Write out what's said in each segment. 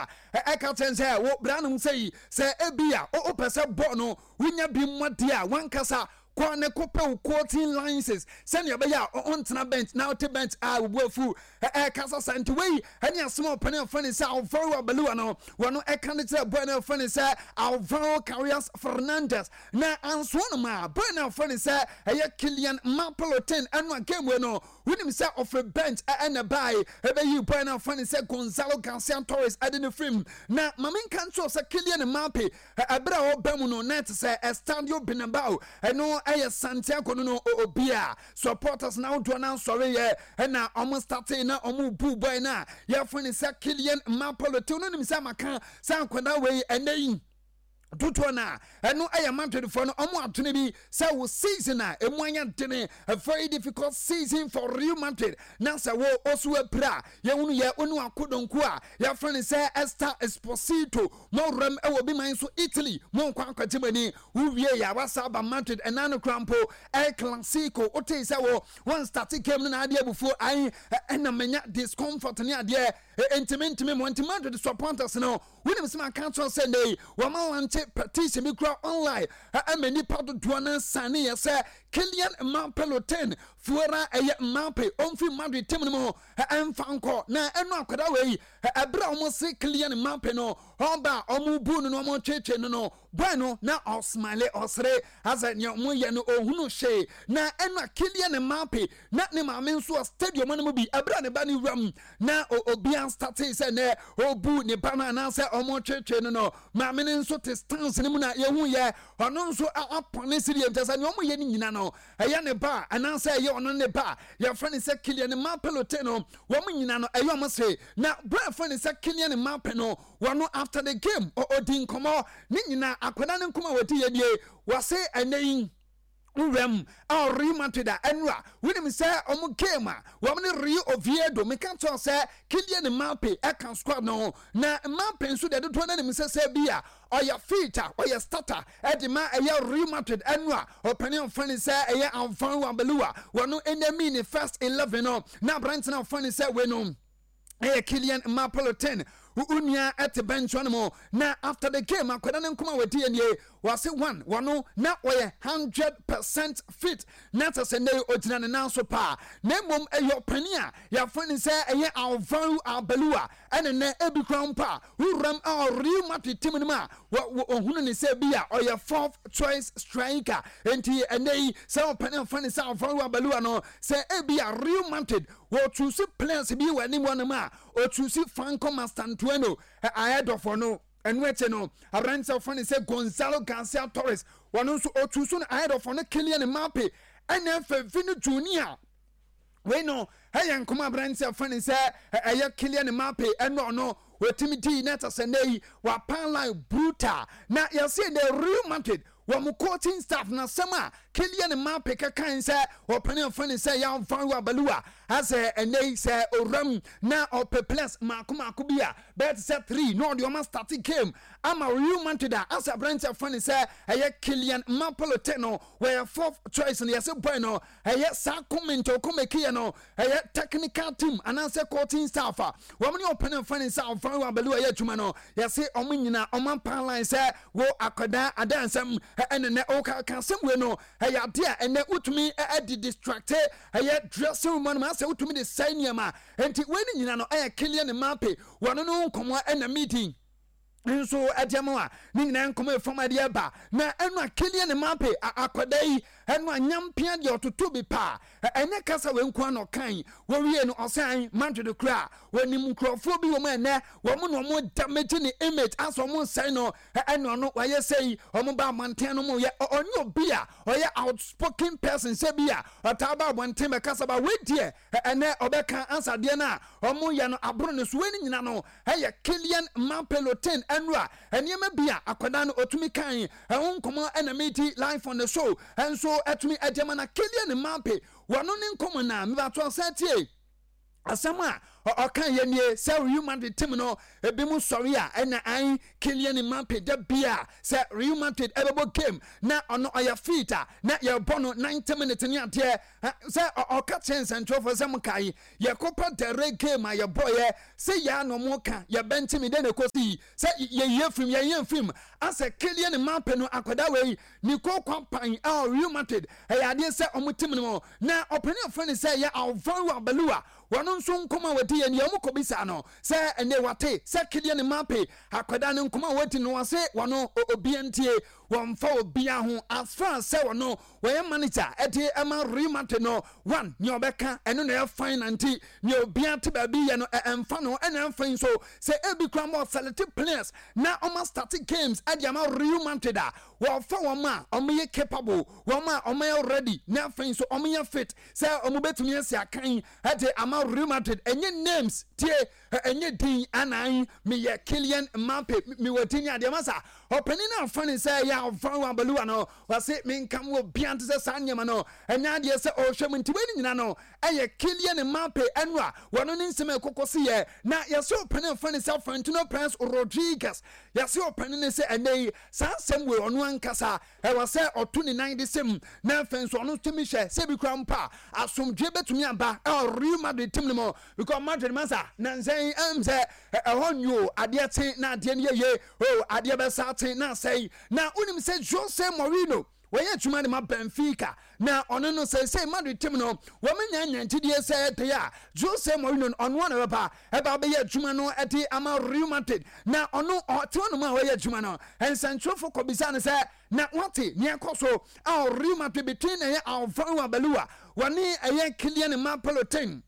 Arbeloa ɛka kyɛn sɛ wo branom sɛ yi sɛ ebi a wopɛ sɛ bɔɔl no wonya bi mmɔdeɛ a wankasa kɔ ne kɔpɛ wo coaching license sɛnea ɛbɛyɛ a ɔntena bench na ɔte bench a obu afu ɛkasa sa. Nti wei ɛne asɛm a ɔpɛne afɛ ne sɛ Alvaro Arbeloa no wɔno ɛka ne kyerɛ boy no afɛ ne sɛ Alvaro Carreras Fernandez na ansoɔ no ma boy no afɛ ne sɛ ɛyɛ Kylian Mbappe ɛno a game wei no wonim sɛ ɔfiri bench ɛna bae ɛbɛyi boy no afɛ ne sɛ Gonzalo Garcia Torres ɛde ne firim. Na maame nka nso sɛ Kylian Mbappe ɛberɛ a ɔba mu no na ɛte sɛ Estadio Bernabeu, ɛno ɛyɛ Santiago no obi a supporters na ahodoɔ no ansɔre yɛ ɛna ɔmo starte na ɔmo bu boy no a yɛfrɛ no sɛ Kylian Mbappe Lottin no. Nim sɛ maka sɛ akwadaa wei ɛnɛ yi dodoɔ no a ɛno ɛyɛ Madridfoɔ no ɔmo adwene bi sɛ wo season a ɛmu ayɛ dene, a very difficult season for Real Madrid, na sɛ wo ɔso apira a yɛhunu yɛ wo ne akodonko a yɛfrɛ no sɛ Esther Esposito mo wuram ɛwɔ bi man so Italy mo nkɔ akɔgye mo ani, wowie yɛ a wasa aba Madrid. Ɛna no kora mpo El Clasico wotee sɛ wo wɔn start game no na adeɛ abufuo ae ɛna manya discomfort ne adeɛ ntimi mo. Nti Madrid supporters no wonim sɛ maka kyerɛ sɛ nnɛ wɔma launch petition bi kura online ɛma nipa dodoɔ no sane yɛ sɛ Kylian Mbappe Lottin fuera ɛyɛ Mbappe ɔmfiri Madrid team no mu ɛmfa nkɔ. Na ɛno akwadaa wei ɛberɛ a wɔn se Kylian Mbappe no ɔba a wɔn bu no na wɔn twetwe no boy no na ɔsmile ɔsere asɛ nea wɔn yɛ no ohunu hwee. Na ɛno a Kylian Mbappe na ne maame nso wɔ stadium no mu bi ɛberɛ a ne ba ne wura mu na obiara starte sɛ nɛ ɔbu ne ba no anaasɛ ɔmo twetwe no maame no nso te stance no mu na yɛhu yɛ ɔno nso apɔne siri nkyɛ sɛ nea ɔmo yɛ no nyina no ɛyɛ ne ba anaasɛ ɛyɛ ɔno ne ba. Yɛfrɛ no sɛ Kylian Mbappe Lottin no wɔn nyina no ɛyɛ ɔmo se na bra yɛfrɛ no sɛ Kylian Mbappe no wɔno after the game ɔdi nkɔmɔ ne nyina akwadaa ne nkɔmɔ a wɔdi yɛ nie wɔse ɛnɛ yi wuram a Real Madrid a ɛnura wonim sɛ ɔmo game a wɔn ne Real Oviedo meka kyerɛ sɛ Kylian Mbappe ɛka squad no ho. Na Mbappe nso deɛ dodoɔ n'anim sɛ bi a ɔyɛ fit a ɔyɛ starter ɛde ma ɛyɛ Real Madrid. Ɛnura ɔpanin ɔfa ne sɛ ɛyɛ Alvaro Arbeloa wɔn ɛnami ne first 11 no na aberante na ɔfa ne sɛ wei no ɛyɛ Kylian Mbappe Lottin onua ɛte bench no mu. Na after the game akwadaa ne nkɔmɔ a wɔdi yɛ nie wɔase one wɔno na wɔyɛ 100% fit na kyɛ sɛ nnɛ ogyina ne nan so paa, na mmom ɛyɛ ɔpanin a yɛafrɛ no sɛ ɛyɛ Alvaro Arbeloa ɛne nnɛ ebi kora mpo a wuram a Real Madrid team no mu a wɔhunu ne sɛ bi a ɔyɛ fourth choice striker. Nti ɛnɛ yi sɛ ɔpanin a wɔfrɛ no sɛ Alvaro Arbeloa no sɛ ebi a Real Madrid wɔtuusi players bi wɔ anim hɔnom a ɔtuusi Franco Mastantuono ahead of ɔno. Ɛno akyi no aberante a wɔfrɛ no sɛ Gonzalo Garcia Torres wɔno nso ɔtu so no ahead of ɔno Kylian Mbappe ɛna afɛ Vini Junior. Wei no ɛyɛ nkɔmɔ aberante a wɔfrɛ no sɛ ɛyɛ Kylian Mbappe ɛno ɔno wɔtumi dii na ɛkyɛ sɛ nnɛ yi wapan line brutal. Na yɛse the Real Madrid wɔn coaching staff na asɛm a Kylian Mbappe kɛkan sɛ ɔpɛne ɔfɛ ne sɛ Alvaro Arbeloa asɛ ɛnɛ yi sɛ owuram na ɔpɛ players maako maako bi a bɛyɛ te sɛ three na ɔde ɔma start game ama Real Madrid a asɛ aberante afɛ ne sɛ ɛyɛ Kylian Mbappe Lottin no wɔyɛ fourth choice no. Yɛsɛ boy no ɛyɛ saa comment ɔkɔmɛkiyɛ no ɛyɛ technical team anaasɛ coaching staff a wɔn ne ɔpɛne ɔfɛ ne sɛ Alvaro Arbeloa ɛyɛ adwuma no yɛse ɔmo nyinaa ɔmo ampan line sɛ wo akwadaa adansɛm ɛne nɛ ɔka ka asɛm wei no ɛyɛ ade a ɛnɛ wotumi ɛde distract ɛyɛ dressing room no ma asɛ wotumi de sɛe nneɛma. Nti wei ne nyina no ɛyɛ Kylian Mbappe wɔno no nkɔmmɔ ɛna meeting nso ɛde ama a ne nyinaa nkɔmɔ efam ɛde ɛba. Na ɛno a Kylian Mbappe akwadaa yi ɛno a nyampia deɛ ɔtoto bi paa ɛnyɛ kasa wei nko ano kan wɔwie no ɔsan Madrid kora wɔnim nkurɔfoɔ bi wɔn ɛnɛ wɔn na wɔn damage ne image asɛ wɔn nsɛn no ɛna ɔno wɔayɛ sɛ yi wɔn ba abɔnten no mu yɛ ɔnyɛ obi a ɔyɛ outspoken person sɛ bi a ɔtaa ba abɔnten bɛkasa ba wei deɛ ɛnɛ ɔbɛka ansadeɛ no a wɔn yɛ no aboro ne so. Wei ne nyina no ɛyɛ Kylian Mbappe Lottin ɛno a nneɛma bi a akwadaa no ɔtumi kan ɛho nkɔmɔ ɛna medi live on the show ɛnso ɛtumi ɛde ma. Na Kylian Mbappe wɔno ne nkɔmɔ na mebato ɔsan tie asɛm a Ɔka yɛ nie sɛ Real Madrid team no ebi mu sɔre a ɛna an Kylian Mbappe da bia sɛ Real Madrid ɛbɛbɔ game na ɔno ɔyɛ fit a na yɛbɔ no 90 minutes ne adeɛ sɛ ɔka kyerɛ nsɛntwerɛfoɔ sɛ mo kae yɛ Copa del Rey game a yɛbɔeɛ sɛ yɛa na ɔmo ka yɛbɛnte me dɛn na ɛkɔsi sɛ yɛyɛ firim yɛyɛ mfirim asɛ Kylian Mbappe no akwadaa wei ne kookwa pan a Real Madrid ɛyɛ adeɛ sɛ ɔmo team no mu na ɔpanin afrɛ ne sɛ yɛ Alvaro Arbeloa. Wɔn nso nkɔmmɔ a wɔdi yɛ nea wɔkɔbisaa no sɛ ɛnɛ wate sɛ Kylian Mbappe akwadaa no nkɔmmɔ a wɔdi no wɔse wɔn obia ntie wɔmfa obia ho as far as sɛ wɔn wɔyɛ manager ɛde ɛma Real Madrid no one nea ɔbɛka ɛno na ɛyɛ fine na nti nea obia te baabi yɛ no ɛmfa no ɛna ɛmfa yi nso sɛ ebi kura ma ɔselect players na ɔma start games ɛde ama Real Madrid a wɔfa wɔn a wɔyɛ capable wɔn a wɔyɛ ready na afei nso wɔyɛ fit sɛ wɔn bɛtumi asi akan de ama Real Madrid. Ɛnyɛ names tie, ɛnyɛ din anan meyɛ Kylian Mbappe mewɔ din ne adeɛ masa. Ɔpanin no afa ne sɛ ɛyɛ Alvaro Arbeloa no wɔse menka mo obiara nte sɛ saa nneɛma no ɛnyɛ adeɛ sɛ ɔrehwɛ mu nti wei ne nyina no ɛyɛ Kylian Mbappe ɛno a wɔno ne nsɛm a ɛkɔkɔ si yɛ na yɛse ɔpanin afa ne sɛ Florentino Perez Rodriguez yɛse ɔpanin ne sɛ ɛnɛ yi saa nsɛm wei ɔno ankasa Ɛwɔ sɛ ɔto ne nan de sɛ mu, na afei nso ɔno nso tumi hwɛ sɛ ebi koraa mpo a asomdwoe betumi aba ɛwɔ Real Madrid team no mu because Madrid masa nansa yi ɛm sɛ ɛhɔ nyo adeɛ kye na adeɛ no yɛ yie o adeɛ bɛsa kye na asɛe na wonim sɛ Jose Mourinho wɔyɛ adwuma de ma Benfica na ɔno no sɛsɛ Madrid team no wɔn nya nya gyidie sɛ ɛde a Jose Mourinho no ɔno na bɛba ɛba bɛyɛ adwuma no ɛde ama Real Madrid na ɔno ɔte hɔnom a ɔyɛ adwuma no nsɛntwerɛfo kɔbisa no sɛ na wate nea ɛkɔ so a Real Madrid between ɛyɛ Alvaro Arbeloa wɔne ɛyɛ Kylian Mbappe Lottin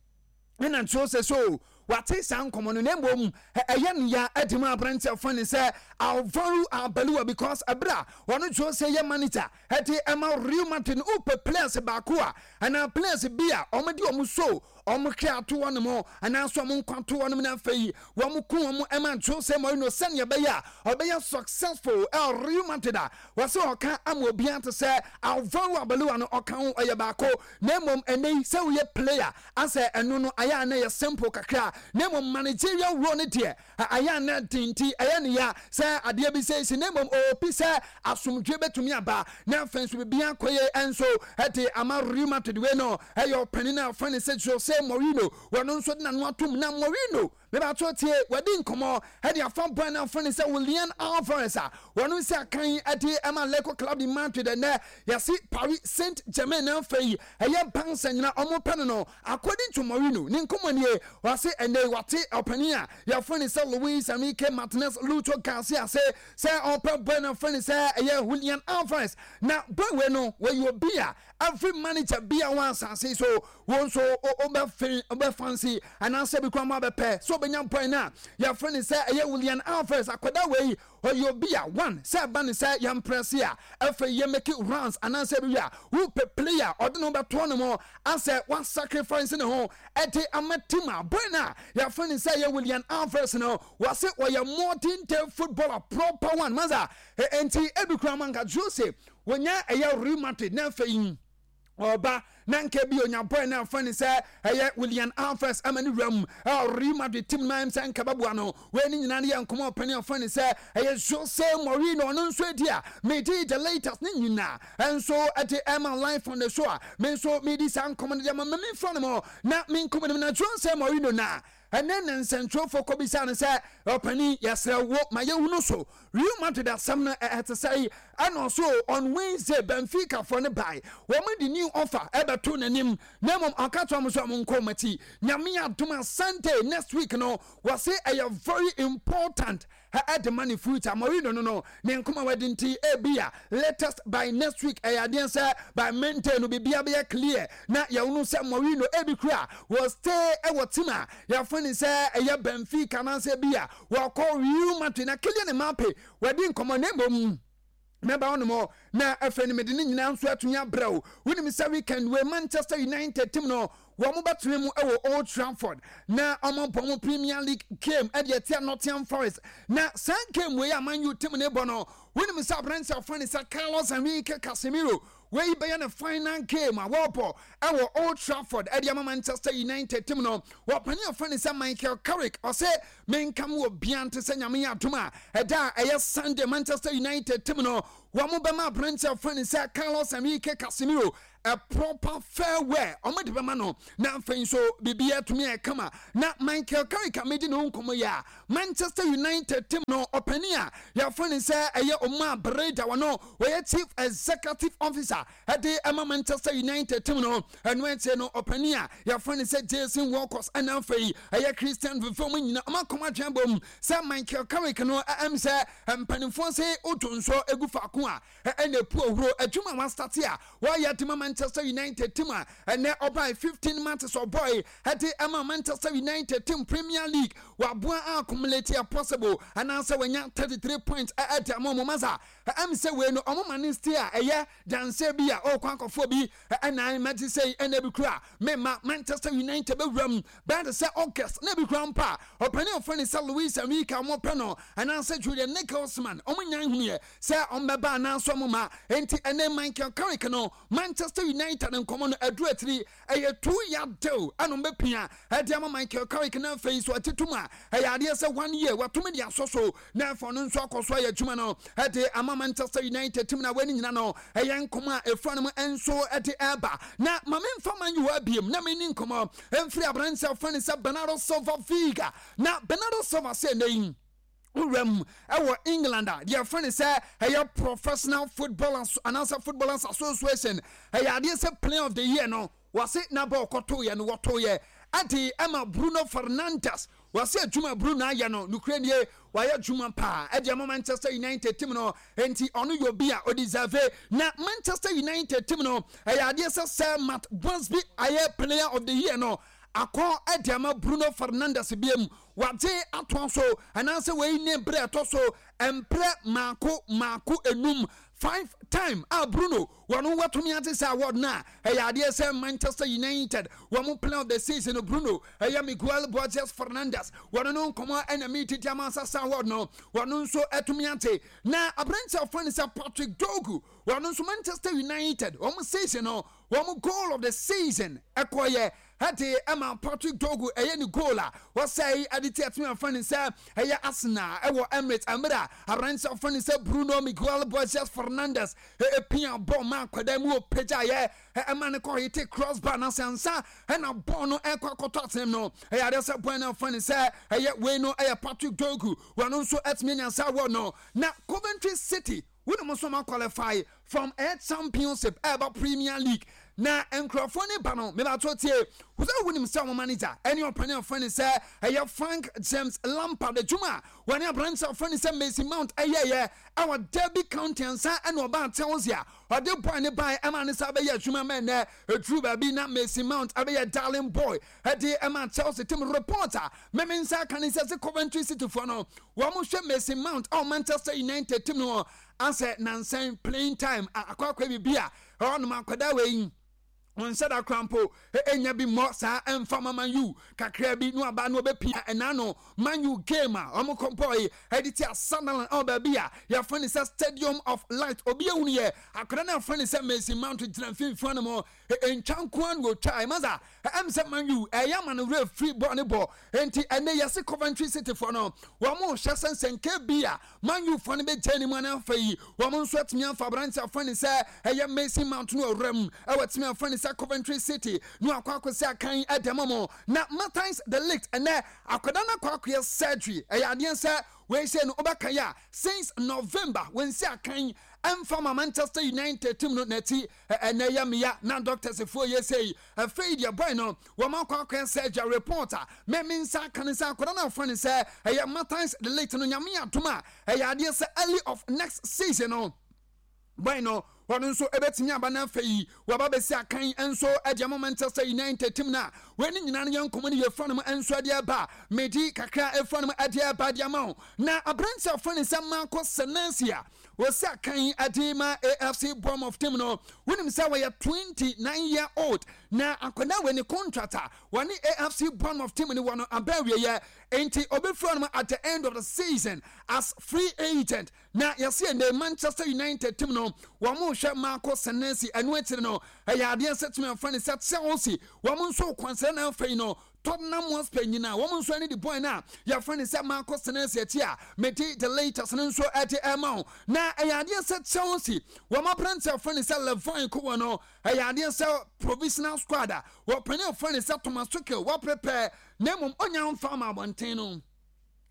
ɛna nso sɛ so wate saa nkɔmmɔ no na mmom ɛyɛ no ya adi mu aberante afa ne sɛ Alvaro Arbeloa because ɛberɛ a wɔno Jose yɛ manager ɛde ɛma Real Madrid no wopɛ players baako a anaa players bi a wɔde wɔn so wɔn hwɛ ato wɔn mo anaasɛ wɔn nkwa to wɔn na afei wɔn ko wɔn ɛma Jose Mourinho sɛnea ɛbɛyɛ a ɔbɛyɛ successful ɛwɔ Real Madrid a wɔsɛ ɔka ama obiara te sɛ Alvaro Arbeloa no ɔka ho ɔyɛ baako na mmom ɛnɛ yi sɛ woyɛ player asɛ ɛno no ayɛ a na ɛyɛ simple kakra na mmom managerial role no deɛ ayɛ a na den nti ɛyɛ ne ya sɛ adeɛ bi sɛ si na mmom ɔɔpi sɛ asomdwe bɛtumi aba na afei nso biribi akɔ yie nso ɛde ama Real Madrid. Wei no ɛyɛ ɔpanin a ɔfrɛ no sɛ Jose Mourinho wɔno nso de n'ano atom na Mourinho mebato tie wadi nkɔmmɔ ɛde afa bɔn na afrɛ no sɛ Julian Alvarez a wɔno nsi akan ɛde ɛma Atletico Club de Madrid. Ɛnɛ yɛsi Paris Saint-Germain na afei ɛyɛ Barca nyina ɔmo pɛ no. According to Mourinho ne nkɔmmɔ nie, wɔse ɛnɛ wate ɔpanin a yɛfrɛ no sɛ Luis Enrique Martinez Lucho Garcia se sɛ ɔpɛ boy no afrɛ no sɛ ɛyɛ Julian Alvarez. Na boy wei no wɔyɛ obi a every manager bi a wɔ asase so wɔn nso wobɛfe wobɛfansi anaasɛ bi koraa mo abɛpɛ sɛ ɔbɛnya boy no a yɛfrɛ no sɛ ɛyɛ Julian Alvarez. Akwadaa wei ɔyɛ obi a one sɛ ɛba ne sɛ yɛmprɛse a afei yɛ make runs anaasɛ bi a wopɛ player ɔde ne ho bɛtoɔ ne mo asɛ wasacrifice ne ho ɛde ama team a boy no a yɛfrɛ no sɛ yɛ Julian Alvarez no wɔse ɔyɛ modern day footballer proper one masa. Enti ebi koraa ma nka Jose wɔnya ɛyɛ Real Madrid na afei ɔba na nka bi onya boy na afa ne sɛ ɛyɛ Julian Alvarez ama ne wura mu ɛwɔ Real Madrid team no ayɛm sɛ nka bɛboa no. Wei ne nyinaa no yɛ nkɔmɔ ɔpɛne afa ne sɛ ɛyɛ Jose Mourinho ɔno nso adi a medi the latest ne nyinaa ɛnso ɛde ɛma live on the show a me nso medi saa nkɔmɔ no de ama memfa no mɔ na me nkɔmɔ no mu na Jose Mourinho na ɛne ne nsɛntwerɛfoɔ kɔbisa no sɛ ɔpanin yɛsrɛ wo ma yɛhunu so Real Madrid asɛm no ɛte sɛ yi. Ɛna ɔso on Wednesday Benfica foɔ no bae wɔn de new offer ɛbɛto n'anim na mmom ɔka kyerɛ wɔn sɛ wɔn nkɔ wɔn akyi. Nyame adom a Sunday next week no wɔse ɛyɛ very important ɛde ma ne future. Mourinho no ne nkɔmɔ a wadi nti ebi a latest by next week ɛyɛ adeɛ sɛ by Monday no biribiara bɛyɛ clear na yɛhunu sɛ Mourinho ebi kura wɔ stay ɛwɔ team a yɛfrɛ ne sɛ ɛyɛ Benfica anaasɛ bi a wɔkɔ Real Madrid. Na Kylian Mbappe wadi nkɔmɔ na mmom mɛba hɔ nom na afei no mede ne nyinaa nso atumi abrɛ wo. Wonim sɛ weekend wei Manchester United team no wɔn bɛtena mu wɔ Old Trafford na wɔn abɔ wɔn Premier League game ɛde atia Nottingham Forest. Na saa game wei a Man U team no bɔ no, wonim sɛ aberanteɛ a wɔfrɛ no sɛ Carlos Enrique Casemiro Wei bɛyɛ ne final game a wɔrebɔ ɛwɔ Old Trafford ɛde ama Manchester United team no. Wɔpanin a wɔfrɛ no sɛ Michael Carrick, ɔse menka mo obiara nte sɛ Nyame yɛ adom a ɛda a ɛyɛ Sunday Manchester United team no wɔn bɛma aberanteɛ a wɔfrɛ no sɛ Carlos Enrique Casemiro a proper farewell wɔn de bɛma no na afei nso biribi atumi ayɛ kama. Na Michael Carrick a medi ne ho nkɔmmɔ yi a Manchester United team no ɔpanin a yɛafrɛ no sɛ ɛyɛ Omar Berrada, wɔno wɔyɛ Chief Executive Officer ɛde ɛma Manchester United team no. Ɛno akyire no ɔpanin a yɛafrɛ no sɛ Jason Wilcox ɛna afei ɛyɛ Christian Vivell mu nyina ɔma kɔm adwene bom sɛ Michael Carrick no ɛm sɛ mpanimfoɔ se woto nso egu faako a ɛna epu ohuro adwuma a wastate a wɔyɛ de ma Manchester United team a ɛnɛ ɔbae 15 matches ɔbɔe ɛde ɛma Manchester United team Premier League waboa accumulate a possible anaasɛ wanya 33 points ɛde ama ɔmo masa ɛm sɛ wei no ɔmo ma ne stay a ɛyɛ danseɛ bi a ɔrekɔ akɔfoɔ bi ɛnan mɛgye sɛ ɛna bi kura mema Manchester United bɛwura mu bɛyɛ te sɛ August na bi kura mpa ɔpanin ɔfrɛ ne sɛ Luis Enrique a wɔpɛ no anaasɛ Julian Nagelsmann ɔmo nyan hunuɛ sɛ ɔmbɛba anaasɛ ɔmo ma. Enti ɛnɛ Michael Carrick no Manchester United nkɔmɔ no aduru atiri, ɛyɛ 2 year deal ɛna ɔmbɛpia ɛde ama Michael Carrick na afei so ɔte tum a ɛyɛ adeɛ sɛ one year watumi de asɔ so na afɔ no nso akɔ so ayɛ adwuma no ɛde ama Manchester United team na wɔn nyina no ɛyɛ nkɔmɔ a efura no mu nso ɛde ɛba. Na maame nfa Man U abiem na mɛ ni nkɔmɔ mfiri aberanteɛ afɔ ne sɛ Bernardo Silva Viga. Na Bernardo Silva sɛ ɛnɛ yi wuram ɛwɔ England a deɛ yɛfrɛ no sɛ ɛyɛ Professional Footballers anaasɛ Footballers Association, ɛyɛ adeɛ sɛ Player of the Year no wɔse n'aba ɔkɔtoyɛ no wɔtoyɛ ɛde ɛma Bruno Fernandes. Wɔse adwuma Bruno ayɛ no, nokura nie, wayɛ adwuma paa ɛde ama Manchester United team no, enti ɔno yɛ obi a ɔdeserve. Na Manchester United team no ɛyɛ adeɛ sɛ Matt Busby ayɛ Player of the Year no akɔ ɛde ama Bruno Fernandes biem wagye atoa so anaasɛ wei ne berɛ ɛtɔ so mprɛ maako maako enum, five time a Bruno wɔn watumi ate sɛ award no a ɛyɛ adeɛ sɛ Manchester United wɔn Player of the Season no Bruno ɛyɛ Miguel Borges Fernandes wɔn no nkɔmɔ ɛna mi titi ama sasa award no wɔn nso ɛtumi ate. Na aberante a wɔfrɛ no sɛ Patrick Dorgu, wɔn nso Manchester United wɔn season no wɔn goal of the season ɛkɔyɛ ɛde ɛma Patrick Dorgu. Ɛyɛ ne goal a wɔsɛe ɛde ti ɛtumi afa ne sɛ ɛyɛ Arsenal ɛwɔ Emirates mmerɛ a aberante afa ne sɛ Bruno Miguel Borges Fernandes ɛpia bɔɔl ma akwadaa mu ɔpagya yɛ ɛma ne kɔ hit crossbar na sɛ nsa ɛna bɔɔl no ɛkɔ akɔtɔ atenem no, ɛyɛ adeɛ sɛ bɔɔl no afa ne sɛ ɛyɛ wei no ɛyɛ Patrick Dorgu, wɔn nso ɛtumi anya saa award no. Na Coventry City wɔn nso ma qualify from air Championship ɛɛba Premier League na nkurɔfoɔ ne ba no mebato tie wosɛ wonim sɛ wɔn manager ɛne ɔpani afɔ ne sɛ ɛyɛ Frank James Lampard. Adwuma a wɔne aberante afɔ ne sɛ Mason Mount ɛyɛyɛ ɛwɔ Derby County ansa ɛna ɔbaa Chelsea a ɔde boy ne bae ɛma ne sa bɛyɛ adwuma ma ɛnɛ ɛduru baabi na Mason Mount ɛbɛyɛ darling boy ɛde ɛma Chelsea team. Report a mɛme nsa aka ne sɛ Coventry City foɔ no wɔn hwɛ Mason Mount ɛwɔ Manchester United team no asɛ nansan playing time akɔ akɔ bibi a ɛhɔnom akwadaa wei nhyɛ da kora mpo ɛnya bi mmɔ saa ɛmfa ma Man U kakra bi no aba no ɔbɛpia ɛna no Man U game a ɔmo kɔmpɔ yi ɛde ti Sunderland ɛwɔ baabi a yɛfrɛ no sɛ Stadium of Light. Obi ehunu yɛ akwadaa no afrɛ no sɛ Mason Mount gyina mfimfini no mu ntwa nkoa na otwa ɛma ɛm sɛ Man U ɛyɛ ama no werɛ firi bɔɔl ne bɔ. Nti ɛnɛ yɛse Coventry City foɔ no wɔn mo hyɛ sɛ nsɛnka bi a Man U foɔ no bɛgya ne mu ana afa yi wɔn nso atumi afa aberante afa ne sɛ ɛyɛ Mason Mount no ɔwura mu ɛwɔ atumi afa ne sɛ Coventry City no akɔ akɔsi akan ɛdɛm mo. Na Matthijs de Ligt, ɛnɛ akwadaa no akɔ akɔyɛ surgery. Ɛyɛ adeɛ sɛ wei sɛ no wobɛka yɛ a since November wɔnsi akan ɛmfa ma Manchester United team no n'akyi. Ɛnɛ yɛ mmea na doctors foɔ yɛ sɛ yi afei deɛ boy no wɔn akɔ akɔyɛ surgery. Report a mɛmi nsa aka ne sɛ akwadaa no afa ne sɛ ɛyɛ Matthijs de Ligt no, Nyame adom a ɛyɛ adeɛ sɛ early of next season no boy no ɔno nso ɛbɛtumi aba no afei yi waba bɛsi akan nso ɛde ama Manchester United team no a wɔn ne nyinaa no yɛ nkɔmɔ no yɛfura no mu nso ɛde ɛba medi kakra ɛfura no mu ɛde ɛba de ama wo. Na aberante a ɔfrɛ ne sɛ Marco Senesi a wɔsi akan de ma AFC Bournemouth team no. Wonim sɛ wɔyɛ 29 year old na akwadaa wei ne contract a wɔne AFC Bournemouth team no wɔ no aba awieɛ, enti ɔbɛfiri hɔnom at the end of the season as free agent. Na yɛse ɛnɛ Manchester United team no wɔn rehwɛ Marco Senesi, ɛno akyiri no ɛyɛ adeɛ sɛ tumi afa ne sɛ Chelsea wɔn nso kwanhyɛ na afei no Tottenham Hotspur nyinaa wɔn nso ani di boy no a yɛfrɛ no sɛ Marco Senesi akyi a mede the latest no nso ɛde ɛma wo. Na ɛyɛ adeɛ sɛ Chelsea wɔn aberante a yɛfrɛ no sɛ Levine Cowell no ɛyɛ adeɛ sɛ provisional squad a wɔpanin a yɛfrɛ no sɛ Thomas Tuchel wɔaprepare na mmom ɔnya mfa ama abɔnten no.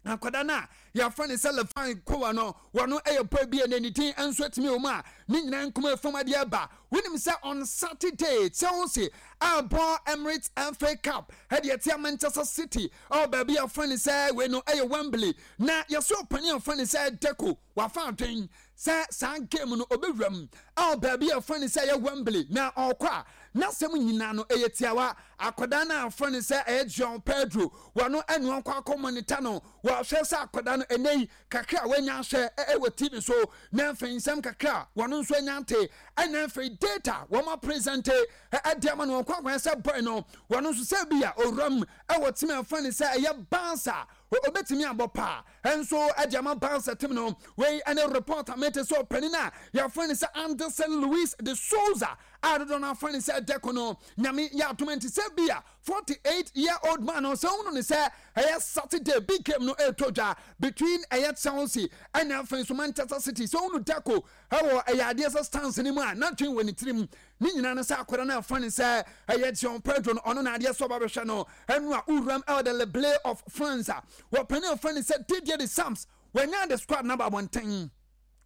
Akwadaa no a yɛafrɛ no sɛ Levine Kowa no, wɔno yɛ boy bi a ne din nso atumi wɔ mu a ne nyinaa nkɔmɔ efam adeɛ aba. Wonim sɛ on Saturday, Chelsea abɔ Emirates FA Cup ɛde atia Manchester City ɛwɔ baabi a yɛafrɛ no sɛ wei no ɛyɛ Wembley. Na yɛsɛ ɔpanin a yɛfrɛ no sɛ Deco wafa adwen sɛ saa game no ɔbɛwura mu ɛwɔ baabi a yɛfrɛ no sɛ ɛyɛ Wembley na ɔkɔ a n'asɛm nyinaa no ɛyɛ tiawa. Akwadaa no a wɔfrɛ no sɛ ɛyɛ João Pedro wɔno ɛne ɔkɔ akɔ monitor no, wɔhwɛ sɛ akwadaa no ɛnɛ yi kakra a wanya ahwɛ ɛwɔ TV so na afei nsɛm kakra a wɔno nso anya ate ɛna afei data wɔn apresente ɛde ama no wɔkɔ akɔyɛ sɛ boy no wɔno nso sɛ bi a owura mu ɛwɔ team a wɔfrɛ no sɛ ɛyɛ Barca obetumi abɔ paa nso ɛde ama Barca team no. Wei ɛne report a mete sɛ ɔpanin a yɛfrɛ no sɛ Anderson Luis de Souza a dodoɔ no afrɛ no sɛ Deco no. Nyame yɛ adom nti sɛ bi a 48 year old man no sɛ wohunu no sɛ ɛyɛ Saturday big game no ɛretɔ dwa between ɛyɛ Chelsea ɛna afei nso Manchester City, sɛ wohunu Deco ɛwɔ ɛyɛ adeɛ sɛ stance no mu a n'adwene wɔ ne tirim ne nyinaa no sɛ akwadaa no afa ne sɛ ɛyɛ João Pedro no, ɔno na adeɛ sɛ ɔba bɛhwɛ no ɛno a wuram ɛwɔ the Le Bleu of France a wɔpɛne afa ne sɛ Didier Deschamps wɔanya the squad no aba abɔnten.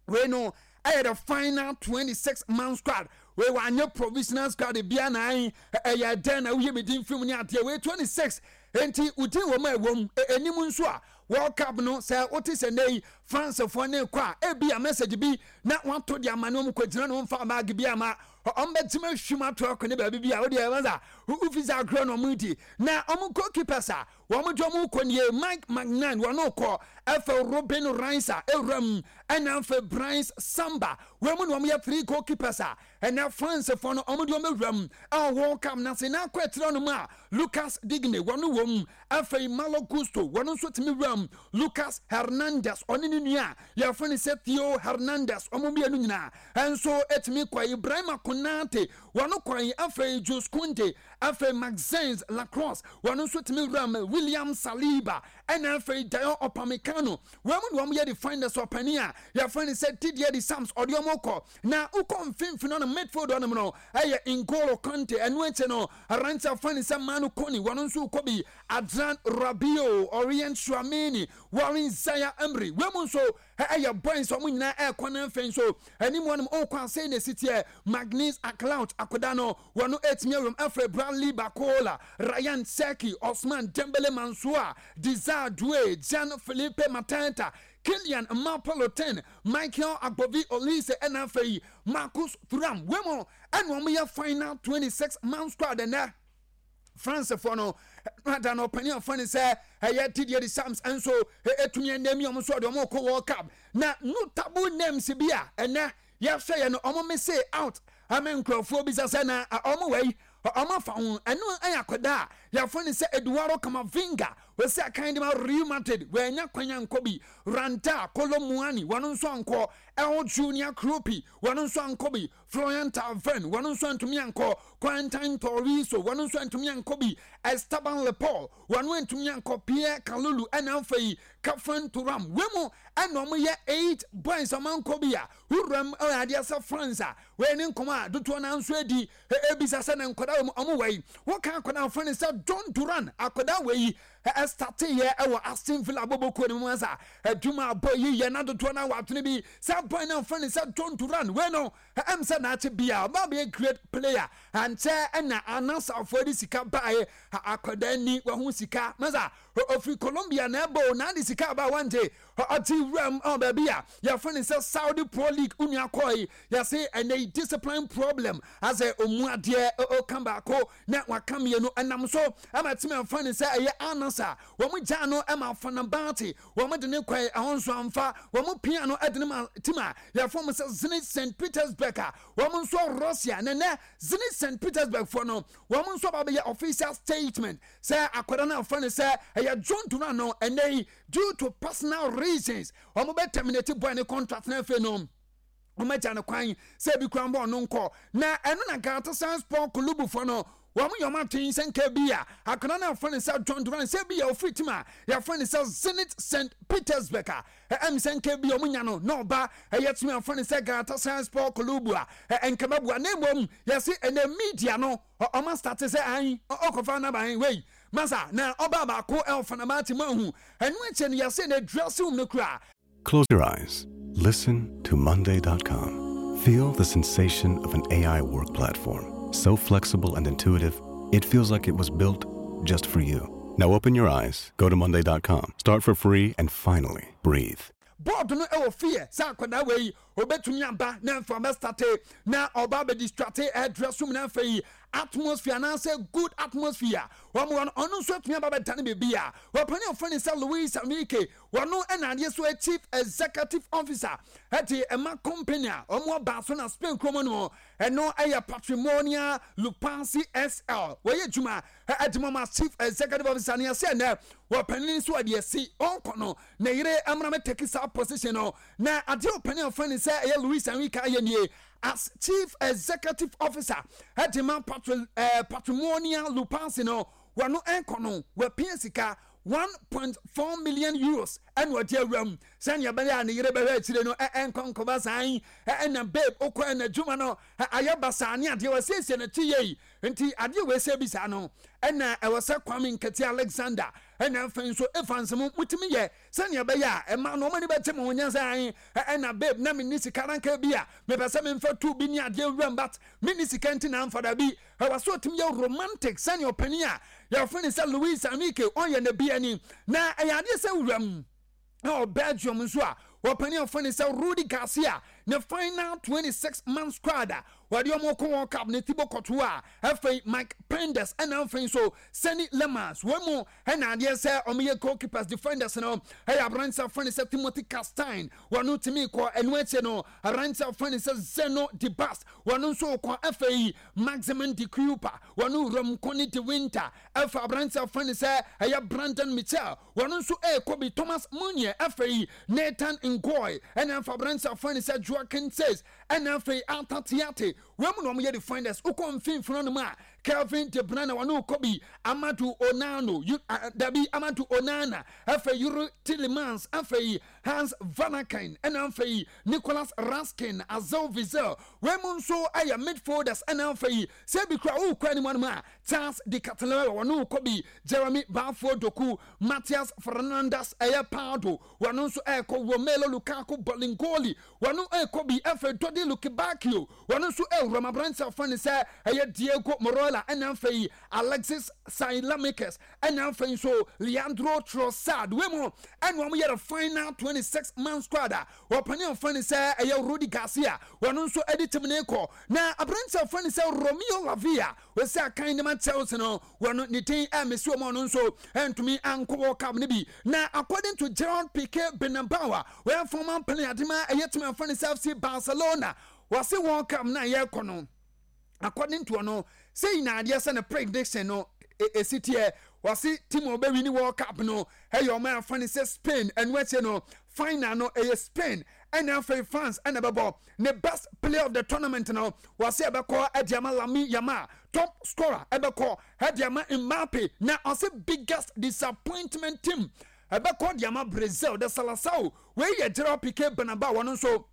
Wei no ɛyɛ the final 26 man squad. Wei wanyɛ provisional squad bia na ɛyɛ dɛn na woyɛ me din firi mu ne adeɛ. Wei 26 enti wodin wɔ mu a ɛwɔ mu ɛnim nso a World Cup no sɛ wote sɛ nnɛ yi Francefoɔ ne kɔ a ebi a message bi na wato de ama ne wɔn kɔgyina ne wɔn fa baage bi ama wɔn bɛtumi ahwim ato akɔ ne baabi bi a wodeɛ ɛwɔ sɛ wofi sɛ agorɔ na wɔn di na wɔn goalkeepers a wɔn de wɔn kɔ nie Mike Maignan wɔn kɔ ɛfɛ Robin Reisa ewura mu ɛna afɛ Brice Samba wɔn mu na wɔn yɛ three goalkeepers a ɛna Francefoɔ no wɔn de wɔn awura mu ɛwɔ World Cup na se na akɔ akyerɛ no mu a Lucas Digne wɔn wɔ mu. Afei Malo Gusto, wɔn nso tumi wuram. Lucas Hernandez, ɔne ne nua a yɛfrɛ no sɛ Theo Hernandez, wɔn mmienu nyinaa nso tumi kɔe. Ibrahima Konate, wɔn kɔe. Afei Jules Kounde, afei Maxence Lacrosse, wɔn nso tumi wuram. William Saliba, ɛna afei Dayot Upamecano, wɔn mu na wɔn yɛ defenders. Ɔpanin a yɛfrɛ no sɛ Didier Deschamps, ɔde wɔn kɔ. Na wokɔ mfimfini hɔnom, midfield hɔnom no, ɛyɛ N'Golo Kante. Ɛno akyi no, Aberante a wɔfrɛ no sɛ Manu Kone, wɔn nso rekɔ bi. Adrien Rabiot, Aurelien Tchouameni, Warren Zaire-Emery, wei mu nso ɛyɛ boys a wɔn nyinaa ɛrekɔ. Na afei nso anim wɔnom ɔrekɔ asɛe na esi teɛ. Magnus Aklaut akoda no, wɔn ɛretumi awuram. Afei Bradley Barcola, Rayan Cherki, Ousmane Dembele, Mansour Desire Doue, Jean-Philippe Mateta, Kylian Mbappe Lottin, Michael Agbovi Olise ɛna afei Marcus Thuram. Wei mu ɛna wɔn yɛ final 26 man squad ɛnɛ. Francefoɔ no ada no ɔpanin afa ne sɛ ɛyɛ Didier Deschamps nso ɛtumi ɛnɛ mi wɔn nso ɔde wɔn kɔ World Cup na notable names bi a ɛnɛ yɛhwɛ yɛ no wɔn mese out ama nkurɔfoɔ bisa sɛ na wɔn wɔ yi wɔn afa ho. Ɛno ɛyɛ akwadaa a yɛfrɛ no sɛ Eduardo Camavinga, wɔsi akan de ma Real Madrid, wɔanya kwan ankɔ bi. Randa Kolo Muani, wɔn nso ankɔ. El Junior Kroupi, wɔn nso ankɔ bi. Florian Thauvin, wɔn nso antumi ankɔ. Quentin Tolisso, wɔn nso antumi ankɔ bi. Esteban Lepore, wɔn antumi ankɔ. Pierre Kalulu ɛna afei Khéphren Thuram, wɔn mu ɛna wɔn yɛ 8 boys wɔn ankɔ bi a wuram ɛwɔ adeɛ sɛ France a wɔyɛ ne nkɔmɔ a dodoɔ naa nso adi ebisa sɛ na nkwadaa wɔn wɔn wɔ yi. Wɔka akwadaa afɔ ne sɛ John Duran, akwadaa wɔ yi ɛstate yɛ ɛwɔ Aston Villa bɔbɔkuo no mu asa adwuma abɔ yi yɛ na dodoɔ naa wɔ atwene bi sɛ boy na afɔ ne sɛ John Duran wei no ɛm sɛ n'akye bia ɔba bɛyɛ great player ankyɛ ɛna anasafoɔ de sika baeɛ akwadaa ni wɔho sika masa ofiri Colombia na ɛbɔ na ade sika aba wante ɔte wuram ɔ baabi a yɛfrɛ no sɛ Saudi Pro League onua kɔe yɛse ɛnɛ yi discipline problem asɛ ɔmu adeɛ ɔka baako na waka mmienu ɛnam so ama timi amfa ne sɛ ɛyɛ Al Nassr. Masa wɔn gyaa no ma Fenerbahce wɔn de ne kɔe, ɛhɔ nso amfa. Wɔn pia no de no ma team a yɛfrɛ wɔn sɛ Zenit St Petersburg a wɔn nso Russia. Na nɛ Zenit St Petersburg foɔ no wɔn nso aba abɛyɛ official statement sɛ akwadaa no a wɔfrɛ no sɛ ɛyɛ John Duran no ɛnɛ yi due to personal reasons wɔn bɛ terminate boy ne contract na afei no wɔn agya no kwan sɛ ebi kura mbɔ ɔno nkɔ. Na ɛno na Galatasaray Sport Club foɔ no wɔn yɛ wɔn atwen sɛ nka bi a akwadaa no a wɔfrɛ no sɛ John Duran sɛ bi a ofiri team a yɛfrɛ no sɛ Zenit St Petersburg a ɛm sɛ nka bi a wɔn nya no na ɔba ɛyɛ team a wɔfrɛ no sɛ Galatasaray Sport Club a nka bɛboa. Na mmom yɛse ɛnɛ media no wɔn astate sɛ an ɔkɔfa n'aban wei masa na ɔbaa baako ɛwɔ Fenerbahce mu ahu ɛno akyɛ no yɛse na dressing room no kura. Close your eyes. Listen to Monday.com. Feel the sensation of an AI work platform. So flexible and intuitive, it feels like it was built just for you. Now open your eyes, go to Monday.com, start for free, and finally breathe. Board no wɔ fear sɛ akwadaa wei obetumi aba na afei ɔbɛstate na ɔba abɛdistrate ɛdrɛ som na afei atmosphere anaasɛ good atmosphere wɔn wɔ no ɔno nso atumi aba bɛdane biribi a wɔpani ɔfrɛ ne sɛ Luis Enrique Wɔno na adeɛ so Chief Executive Officer de ma company a wɔn aba so na Spain kurom no, ɛno yɛ Patrimonia Lupansi SL. Wɔyɛ adwuma de ma wɔn Chief Executive Officer no. Yɛsɛ ɛnɛ wɔpanin nso ɔde asi ɔnkɔ no ne yere mmra me take saa position no. Na adeɛ ɔpanin a wɔfrɛ no sɛ ɛyɛ Luis Enrique ayɛ nie as Chief Executive Officer de ma Patrimonia Lupansi no, wɔno ɛnkɔ no wɔapia sika €1.4 million ɛna ɔde awura mu sɛnea ɛbɛyɛ a ne yere bɛhwɛ akyire no ɛnkɔ nkɔba saa yi ɛna babe wokɔ ɛna adwuma no ayɛ basaa ne adeɛ wɔasiesie no ti yei nti adeɛ wei sɛ bi saa no ɛna ɛwɔ sɛ Kwame Nketi Alexander ɛna afei nso Evans mo motumi yɛ sɛnea ɛbɛyɛ a ɛma no ɔmo ani bɛgye mo ho nyɛ sɛ ɛna babe na menni sika nanka bi a mepɛ sɛ memfa tu bi ne adeɛ wuram but menni sika nti na amfa da bi. Ɛwɔ sɛ ɔtumi yɛ romantic sɛnea ɔpanin a yɛfrɛ no sɛ Luis Enrique ɔyɛ no bi ani. Na ɛyɛ adeɛ sɛ wuram wɔ Belgium nso a ɔpanin a wɔfrɛ no sɛ Rudi Garcia ne final 26 man squad a wɔde wɔn kɔ World Cup ne Thibaut Courtois, afei Mike Penders ɛna afei nso Senne Lammers. Wɔn mu ɛna adeɛ sɛ wɔyɛ goalkeepers. Defenders no ɛyɛ aberanteɛ a wɔfrɛ no sɛ Timothy Castagne, wɔn tumi kɔ. Ɛno akyi no aberanteɛ a wɔfrɛ no sɛ Zeno Debast, wɔn nso kɔ. Afei Maximin de Cuyper, wɔn wuram Koni de Winter, ɛfa aberanteɛ a wɔfrɛ no sɛ ɛyɛ Brandon Mitchell, wɔn nso ɛrekɔ bi. Thomas Meunier, afei Nathan Ngoy, ɛna ɛfa aberanteɛ a wɔfrɛ no sɛ Joaquin Seys, ɛna afei Arthur Theate. Wɔn mu na wɔyɛ defenders. Wokɔ mfimfini no mu a, Kelvin De Bruyne, wɔn rekɔ bi. Amadou Onano, dabi, Amadou Onana, afei Yuri Tielemans, afei Hans Vanaken, ɛna afei Nicolas Raskin, Axel Witsel. Wɔn mu nso yɛ midfielders. Ɛna afei sɛ bi kura wokɔ anim anim a, Charles de Ketelaere, wɔn rekɔ bi. Jeremy Baffour Doku, Matthias Fernandes ɛyɛ Pardo, wɔn nso ɛrekɔ. Romelu Lukaku Bolingoli, wɔn ɛrekɔ bi. Afei Dodi Lukebakio, wɔn nso ɛwura mu. Aberante a wɔfrɛ no sɛ ɛyɛ Diego Morola, ɛna afei Alexis Saelemaekers, ɛna afei nso Leandro Trossard. Wei mu ɛna wɔn yɛ the final 26 man squad a wɔpanin a wɔfrɛ no sɛ ɛyɛ Rudi Garcia, wɔn nso ɛde team ne kɔ. Na aberante a wɔfrɛ no sɛ Romeo Lavia, wɔsi akan ne ma Chelsea no, wɔn ne din ɛmesi wɔn, ɔno nso ɛntumi ankɔ World Cup no bi. Na according to Gerard Pique Benabawa, wɔyɛ former player de ma ɛyɛ team a wɔfrɛ no sɛ FC Barcelona, wɔsi World Cup na yɛrekɔ no, according to ɔno sɛ nyinaa adeɛ sɛ ne prediction no esi teɛ, wɔsi team a ɔbɛwi ne World Cup no ɛyɛ ɔmo afa ne sɛ Spain. Ɛno akyi no final no ɛyɛ Spain ɛna afei France ɛna ɛbɛbɔ. Ne best player of the tournament no, wɔsi ɛbɛkɔ ɛde ama Lamine Yamal, top scorer ɛbɛkɔ ɛde ama Mbappe, na ɔsi biggest disappointment team ɛbɛkɔ de ama Brazil, the Seleção. Wei yɛ Gerard Pique Benaba, wɔn nso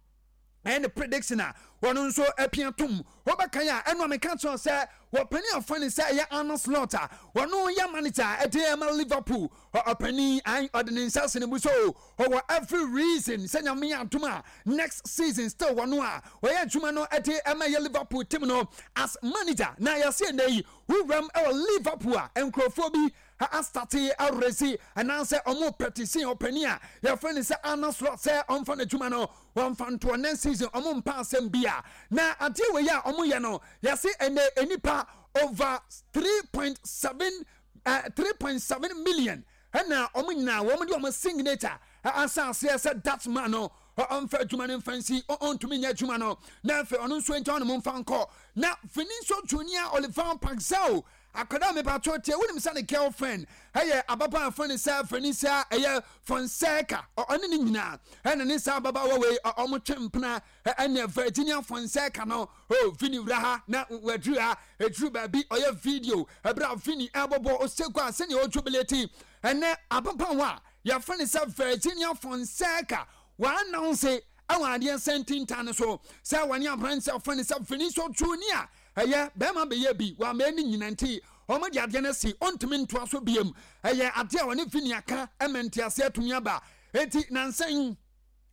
ɛyɛ ne prediction a wɔn nso apia tom. Wɔbɛkan a ɛno a meka kyerɛ sɛ wɔpanin afa ne sɛ ɛyɛ Arne Slot a wɔno yɛ manager a ɛde ɛma Liverpool. Ɔpanin an ɔde ne nsa sene bu so ɔwɔ every reason sɛ Nyame yɛ adom a next season still wɔno a ɔyɛ adwuma no ɛde ɛma ɛyɛ Liverpool team no as manager. Na yɛse ɛnɛ yi wuram ɛwɔ Liverpool a nkurɔfoɔ bi astate aresi anaasɛ ɔmo petition ɔpanin a yɛfrɛ no sɛ Arne Slot sɛ ɔmfa n'adwuma no wɔmfa ntoɔ next season. Ɔmo mpa asɛm bi a na adeɛ wei a ɔmo yɛ no, yɛse ɛnɛ nipa over 3.7 3.7 million. Ɛna wɔn nyinaa wɔn de wɔn signature asa aseɛ sɛ that man no ɔmfa adwuma no mfa nsi, ɔntumi nyɛ adwuma no, na afei ɔno nso nkyɛn ɔnom mfa nkɔ. Na Vinicius Junior Olivan Paxao akwadaa mepatwo tie, wonim sɛ ne girlfriend ɛyɛ ababaa fɛn ne sɛ Venetia ɛyɛ Fonseca, ɔne ne nyinaa ɛna ne saa ababaawa wei ɔmo twe mpena. Ɛnna Virginia Fonseca no, oh, Vini wura ha na waduru ha, ɛduru baabi ɔyɛ video ɛberɛ a Vini ɛbɔbɔ ɔsɛgu a sɛnea ɔjubilate. Ɛnɛ ababaawa a yɛfrɛ no sɛ Virginia Fonseca wɔannounce ɛwɔ adeɛ sɛ ntintan no so sɛ wɔne aberanteɛ a wɔfrɛ no sɛ Vinicius Junior ɛyɛ bɛrima bɛyɛ bi wɔamɛɛ ne nyina nti wɔn de adeɛ no asi ɔntumi ntoa so biem. Ɛyɛ adeɛ a wɔne Vini aka ɛma nteaseɛ atumi aba. Enti nansa yi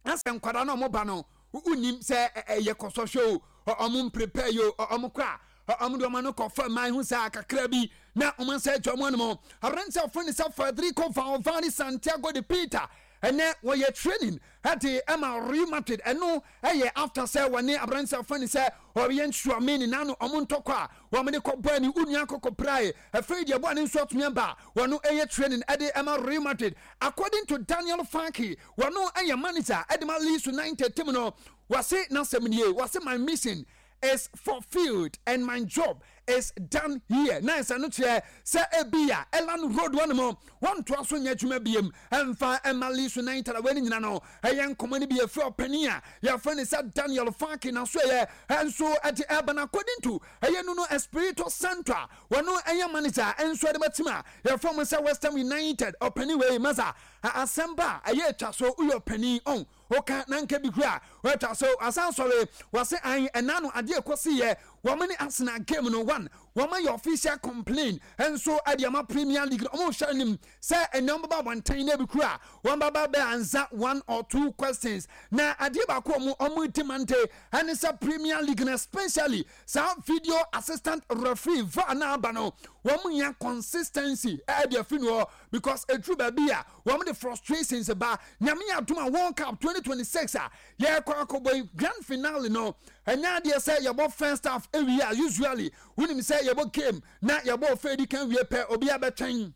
asɛ nkwadaa no ɔmo ba no wonim sɛ ɛyɛ kɔsɔhwɛ o, ɔmo mprepare yi o, ɔmo kɔ a ɔmo de ɔmo ano kɔ fam man ho saa kakra bi na ɔmo nsa atwa ɔmo anom. Aberanteɛ a wɔfrɛ no sɛ Federico Valverde Santiago de Peter ɛnɛ wɔyɛ training ɛde ɛma Real Madrid. Ɛno ɛyɛ after sɛ wɔne aberanteɛ a wɔfrɛ no sɛ Aurelien Tchouameni n'ano ɔmo ntɔkwa a wɔn de kɔ bɔɔ ne onua kɔkɔ prae. Afei deɛ bɔɔ ne nso atumi aba wɔn ɛyɛ training ɛde ɛma Real Madrid. According to Daniel Farke, wɔno ɛyɛ manager ɛde ma Leeds United team no, wɔse n'asɛm nie, wɔse my mission is fulfilled and my job is done here. Na ɛsɛ no kyerɛ sɛ ebia Elland Road hɔ nom wɔntoa so nyɛ adwuma biem ɛmfa ɛma Leeds United. A wɔn nyina no ɛyɛ nkɔmɔ no bi efiri ɔpanin a yɛfrɛ no sɛ Daniel Farke na so ɛyɛ ɛnso ɛde ɛba no according to ɛyɛ Nuno Espirito Santo a wɔno ɛyɛ manager ɛnso ɛde ma team a yɛfrɛ mo sɛ West Ham United. Ɔpanin wei masa asɛm ba a ɛyɛ atwa so, woyɛ ɔpanin ɔn woka na nka bi kura wɔatwa so asan sɔre wɔse an ɛna no adeɛ ɛkɔsi yɛ wɔn ne Arsenal game no one wɔn ayɛ official complain nso ɛde ama Premier League no. Wɔn hwɛ anim sɛ ɛnɛ wɔn bɛba abɔnten na ebi kura wɔn bɛba bɛ ansa one or two questions. Na adeɛ baako wɔn wɔn demand ɛne sɛ Premier League no, especially saa video assistant referee VAR na aba no, wɔn nya consistency ɛde afi no hɔ because eduru baabi a wɔn de frustrations ba. Nyame yɛ adom a World Cup 2026 a yɛrekɔ akɔbɔ yi grand finale no, ɛnyɛ adeɛ sɛ yɛbɔ first half ewie a, usually wonim sɛ yɛbɔ game na yɛbɔ ɔfɛ edi kan wie pɛ, obi abɛtwɛn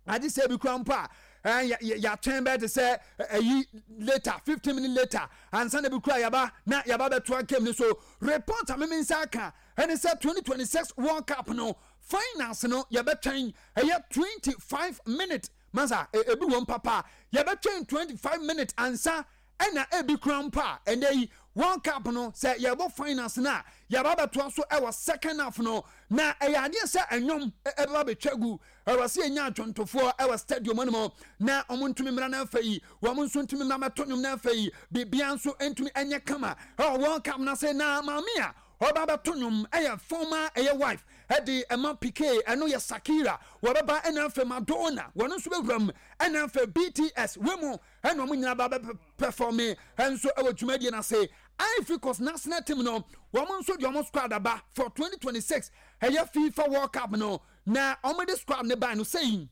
agye sɛ ebi kura mpo a yɛatwɛn bɛyɛ te sɛ ɛyi later 15 minutes later ansa na ebi kura yaba na yaba bɛtoa game no so. Report a meme nsa aka ɛne sɛ 2026 World Cup no finals no yɛbɛtwɛn ɛyɛ 25 minutes masa ebi wɔm papa, yɛbɛtwɛn 25 minutes ansa ɛna ebi kura mpo a ɛnɛ yi World Cup no sɛ yɛbɔ finals no a yɛba bɛtoa so ɛwɔ second half no. Na ɛyɛ adeɛ sɛ ɛnwom ɛbɛba bɛtwa gu, ɛwɔ sɛ yɛnya adwontofoɔ ɛwɔ stadium no mu na wɔn ntumi mmra no afɛ yi, wɔn nso ntumi mmra mɛto nnwom no afɛ yi, biribiara nso ntumi ɛnyɛ kama ɛwɔ World Cup no ase. Na maame a ɔba bɛto nnwom ɛyɛ former ɛyɛ wife ɛde ɛma Piqué, ɛno yɛ Shakira, wɔbɛba, ɛna afɛ Madonna wɔn nso bɛwura mu, ɛna afɛ BTS wɔ mu, ɛna wɔn nyinaa ba bɛ perform ɛnso ɛwɔ dwumadie no ase. Ivory Coast national team no wɔn nso de wɔn squad aba for 2026 ɛyɛ FIFA World Cup no. Na wɔn de squad ne ban no sɛyi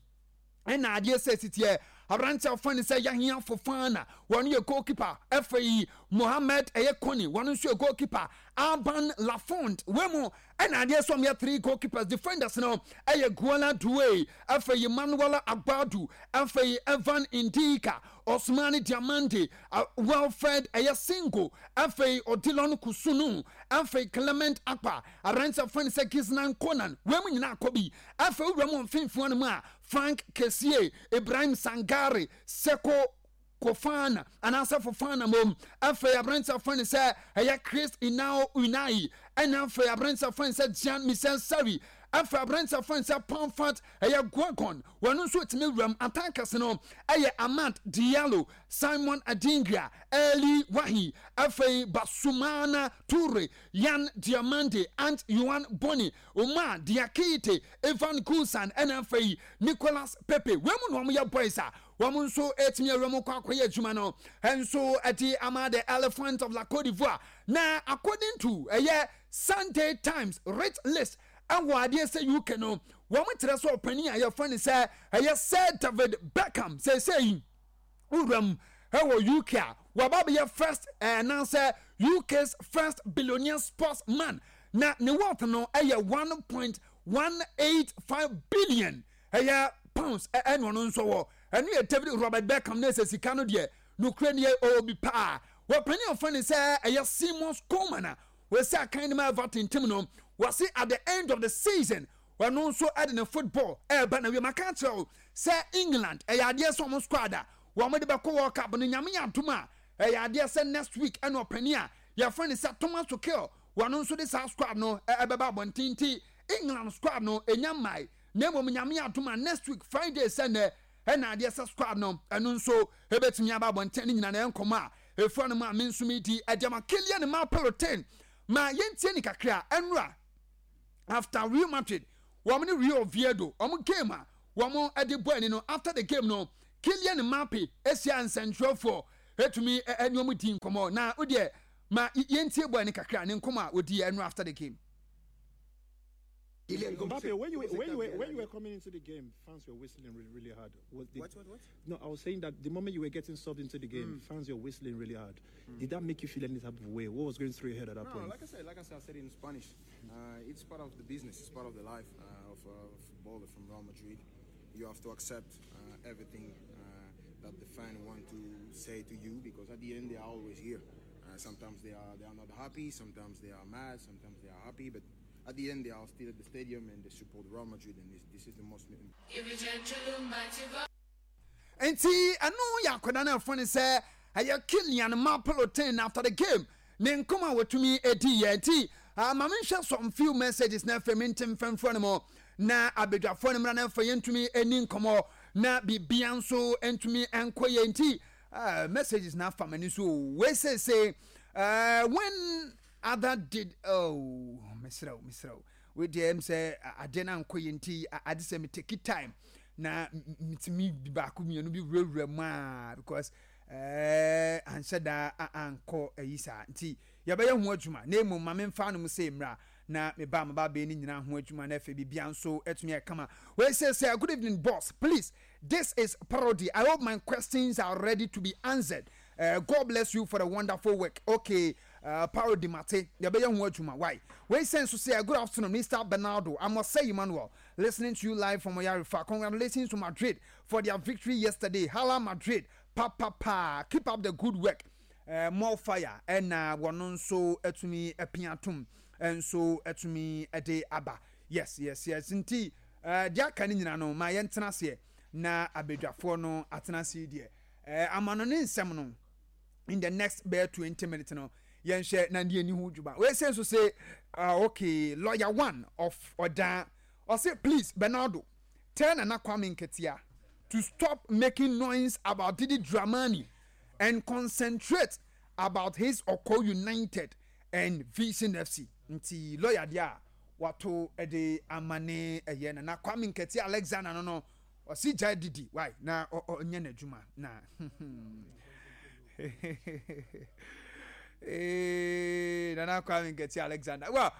ɛna adeɛ sɛ sitiɛ aberante a wɔfrɛ no sɛ Yahya Fofana, wɔn yɛ goalkeeper. Ɛfɛ Mohammed ɛyɛ Koni, wɔn nso yɛ goalkeeper. Alban Lafont wɔ mu, ɛna adeɛ sɛ wɔn yɛ three goalkeepers. Defenders no ɛyɛ Guola Doué, afei Emmanuel Agbadu, afei Evan Ndika, Osmani Diamande, Wilfred ɛyɛ Singo, afei Odilon Kusunu, afei Clement Akpa, aberante a wɔfrɛ no sɛ Giznan Konan, wɔn mu nyinaa akɔ bi. Afei wura mu mfimfini no mu a Frank Kessie, Ibrahim Sangare, Seko Kofana anaasɛ Fofana mom, afei aberante a wɔfrɛ no sɛ ɛyɛ Chris Inao Unai, ɛna afei aberante a wɔfrɛ no sɛ Jean Michel Seri, afei aberante a wɔfrɛ no sɛ Pamfat ɛyɛ Guagon, wɔn nso tumi wuram. Attackers no ɛyɛ Amad Diallo, Simon Adingra, Eli Wahi, afei Basumana Toure, Yan Diamande, Ant Yuan Boni, Umar Diakite, Ivan Gusan, ɛna afei Nicolas Pepe. Wɔn mu na wɔn yɛ boys a wɔn nso etumi awura mu kɔ akɔyɛ adwuma no nso ɛde ama the Elephant of La Cote d'Ivoire. Na according to ɛyɛ Sunday Times rich list ɛwɔ adeɛ sɛ UK no, wɔn kyerɛ sɛ ɔpanin a yɛfrɛ no sɛ ɛyɛ Sir David Beckham seesei wuram ɛwɔ UK a waba bɛyɛ first ɛnansɛ UK's first billionaire sportsman, na ne worth no ɛyɛ 1.185 billion ɛyɛ pounds. Ɛna ɔno nso wɔ Ɛno yɛ David Robert Beckham na ɛsɛ sika no deɛ nokorɛ nie ɔwɔ bi paa. Wɔpanin a wɔfrɛ no sɛ ɛyɛ Simon Coleman a wɔsi akan no ma Everton team no, wɔse at the end of the season ɔno nso de ne football ɛreba na wie. Maka akyerɛ wo sɛ England ɛyɛ adeɛ sɛ wɔn squad a wɔn de bɛkɔ World Cup no, Nyame yɛ adom a ɛyɛ adeɛ sɛ next week ɛna ɔpanin a yɛfrɛ no sɛ Thomas Tuchel wɔn nso de saa squad no ɛbɛba abɔnten nti England squad no ɛnya mmae na mmom Nyame adom a next week Friday sɛ nnɛ ɛna adeɛ sɛ squad no ɛno nso ɛbɛtumi aba abɔnten ne nyina na ɛyɛ nkɔmmɔ a ɛfua no mu a me nso medi ɛde ama Kylian Mbappe Lottin ma yɛntie ne kakra ɛnora after Real Madrid wɔn ne Real Oviedo wɔn game a wɔn ɛde bɔ ani no after the game no Kylian Mbappe ahyia nsɛntwerɛfoɔ ɛtumi ɛne wɔn di nkɔmmɔ na wodeɛ ma yɛntie bɔ ani kakra ne nkɔmmɔ a wɔdi ɛnora after the game. Mbappe, when you, when, you were, when you were coming into the game, fans were whistling really, really hard. Was the, what, what, what? No, I was saying that the moment you were getting subbed into the game, mm. fans were whistling really hard. Mm. Did that make you feel any type of way? What was going through your head at that no, point? Like I said, like I said, I said in Spanish, uh, it's part of the business. It's part of the life uh, of a footballer from Real Madrid. You have to accept uh, everything uh, that the fan want to say to you because at the end they are always here. Uh, sometimes they are they are not happy, sometimes they are mad, sometimes they are happy, but at the end they are still at the stadium and they support Real Madrid and this, this is the most Nti ɛno yɛ akwadaa no ɛfo ne sɛ ɛyɛ Kylian Mbappe Lottin after the game ne nkɔm a wɔtumi edi yɛ nti uh, ma menhwɛ some few messages na afei mente mfɛmfrɛ no mu na abadwafoɔ no mmra na afei yɛntumi ani nkɔmmɔ na biribia nso ntumi nkɔ yɛ nti uh, messages na afa m'ani so wei seesei uh, when Other did oh mesrɛ wo mesrɛ wo wei deɛ ɛm sɛ adeɛ no ankɔ yɛ nti ade sɛ me take time na metumi baako mmienu bi wurawura mu a because ɛɛ anhyɛ da ankɔ ayi saa nti yɛbɛyɛ ho adwuma na mmom ma memfa no mu sɛ mmra na meba maba abɛyɛ ne nyinaa ho adwuma na afei biribia nso atumi ayɛ kama. Wei sɛ sɛ good evening boss, please this is parody, I hope my questions are ready to be answered. Uh, God bless you for the wonderful work. Okay, parody mate, yɛbɛyɛ ho adwuma. Why? Wei sɛ nso sɛ good afternoon Mr. Bernardo, I'm Osei Emmanuel, listening to you live from Oyarifa. Congratulations to Madrid for their victory yesterday. Hala Madrid, pa pa pa. Keep up the good work. More fire ɛna wɔn nso atumi apia tom nso atumi de aba. Yes, yes, yes. Nti deɛ aka no nyina no ma yɛntena aseɛ na abadwafoɔ no atena ase deɛ. Amanɔne nsɛm no in the next bɛyɛ 20 minutes no yɛnhwɛ na deɛ ni ho dwuma. Wei sɛ nso sɛ okay, lawyer one of ɔdan ɔse please Bernardo tell Nana Kwame Nketia to stop making noise about Didi Dramani and concentrate about his Oko United and Vision FC. Nti lawyer deɛ a wato de ama ne ɛyɛ Nana Kwame Nketia Alexander no no ɔsi gyae didi why na ɔnyɛ n'adwuma na ee Nana Kwame Nketia Alexander well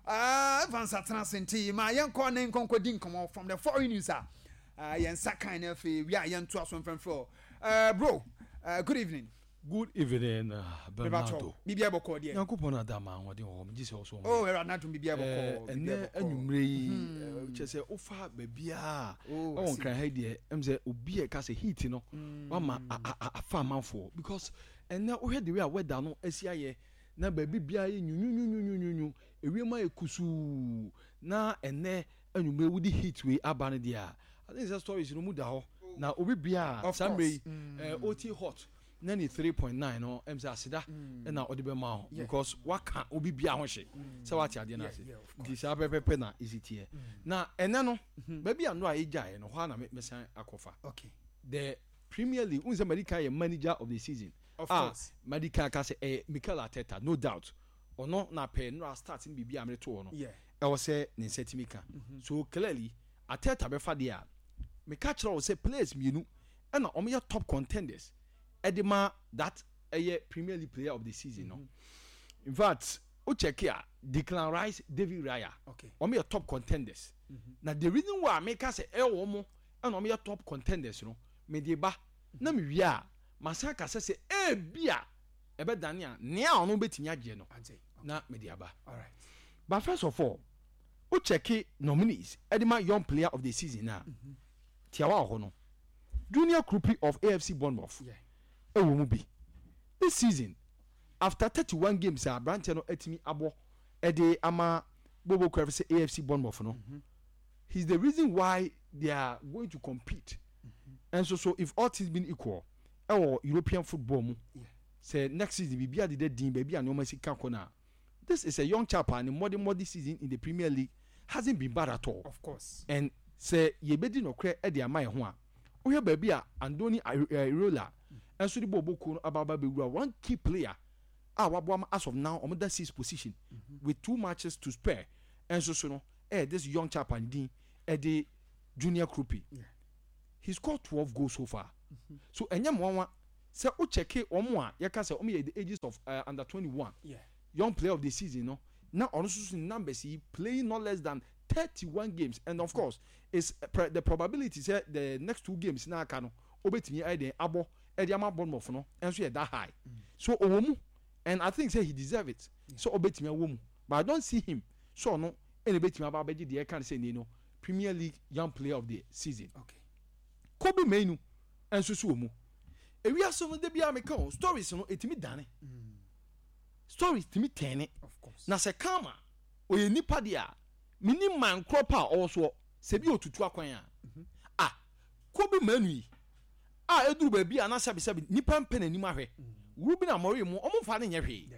uh, Evans atena ase nti ma yɛnkɔ ne nkɔnkɔ di nkɔmmɔ from the foreign news a uh, yɛn nsa kan na afei wi a yɛnto aso mfɛmfɛ uh, bro uh, good evening. Good evening Bernardo. Biribiara bɔkɔɔ deɛ. Nyankopɔn na ada ma ahoɔden wɔ hɔ megye sɛ ɔso. Oh Awurade n'adom biribiara bɔkɔɔ. Ɛnɛ anwummerɛ yi hmm. kyerɛ sɛ wofa baabiara oh, ɛwɔ nkran ha yi deɛ ɛm sɛ obi a ɛka sɛ heat no hmm. wama afa amanfoɔ because ɛnɛ wohwɛ the way a weather no asi ayɛ na baabi biara yɛ nyunyunyunyunyunyu ewiem ayɛ kusuu na ɛnɛ anwummerɛ wodi heat wei aba no deɛ a I think sɛ stories no mu da hɔ na obi biara saa mmerɛ yi ɔtie hot 93.9 no ɛm sɛ aseda ɛna ɔde bɛma ho because waka obi bia ho hye sɛ wate adeɛ no ase nti saa pɛpɛpɛ na ɛsi teɛ na ɛnɛ no baabi a no a ɛgyaeɛ no hɔ a na mɛsan akɔfa the Premier League wohu sɛ madi kan yɛ manager of the season a madi kan aka sɛ ɛyɛ Mikel Arteta no doubt ɔno na pɛɛ nnora start no biribi a mede to hɔ no ɛwɔ sɛ ne nsa tumi ka so clearly Arteta bɛfa deɛ a meka kyerɛ wo sɛ players mmienu ɛna wɔn yɛ top contenders ɛde ma that ɛyɛ Premier League player of the season no in fact wo check a Declan Rice, David Raya wɔn yɛ top contenders na the reason why meka sɛ ɛyɛ wɔn ɛna wɔn yɛ top contenders no mede ba na me wie a masan aka sɛ sɛ ebi a ɛbɛdane a nea ɔno bɛtumi agye no na mede aba but first of all wo check nominees ɛde ma young player of the season a tiawa wɔ hɔ no. Junior Kroupi of AFC Bournemouth ɛwɔ mu bi. This season, after 31 games a aberanteɛ no atumi abɔ ɛde ama Bobo kura sɛ AFC Bournemouth no, he's the reason why they are going to compete. Ɛnso so if all things being equal, ɛwɔ European football mu, sɛ next season biribi adeda din baabi a nneɛma si ka kɔ no a, this is a young chap a ne mmɔdemmɔ this season in the Premier League hasn't been bad at all. Of course. And sɛ yɛbɛdi nɔkorɛ de ama yɛn ho a, wohwɛ baabi a Andoni Iraola nso de bɔɔlbɔ kuo no aba aba abɛwura, one key player a waboa ma as of now wɔn da sixth position with two matches to spare nso so no ɛyɛ this young chap a ne din de Junior Kroupi. He scored 12 goals so far. So ɛnyɛ mmoawa sɛ wo checke wɔn a yɛka sɛ wɔn yɛ the ages of under 21 young player of the season no na ɔno nso so ne numbers yi playing not less than 31 games and of course is the probability sɛ the next two games na aka no obetumi ayɛ den abɔ ɛde ama Bournemouth no nso yɛ that high. So ɔwɔ mu and I think sɛ he deserve it sɛ ɔbɛtumi awɔ mu, but I don't see him sɛ ɔno ɛna ebɛtumi aba abɛgye deɛ ɛka no sɛ nie no Premier League young player of the season. Kobbie Mainoo nso so wɔ mu. Ewiase no da biara meka o, stories no etumi dane. Stories tumi tɛne. Na sɛ Karma ɔyɛ nipa deɛ a, menim man korɔ pa a ɔwɔ soɔ, sɛ bi ɔtutu akwan a. Ah, Kobbie Mainoo yi a eduru baabi a na sɛbesɛbe nipa mpɛ n'anim ahwɛ, Ruben Amorim mo, ɔmo mfa no nyɛ hwee.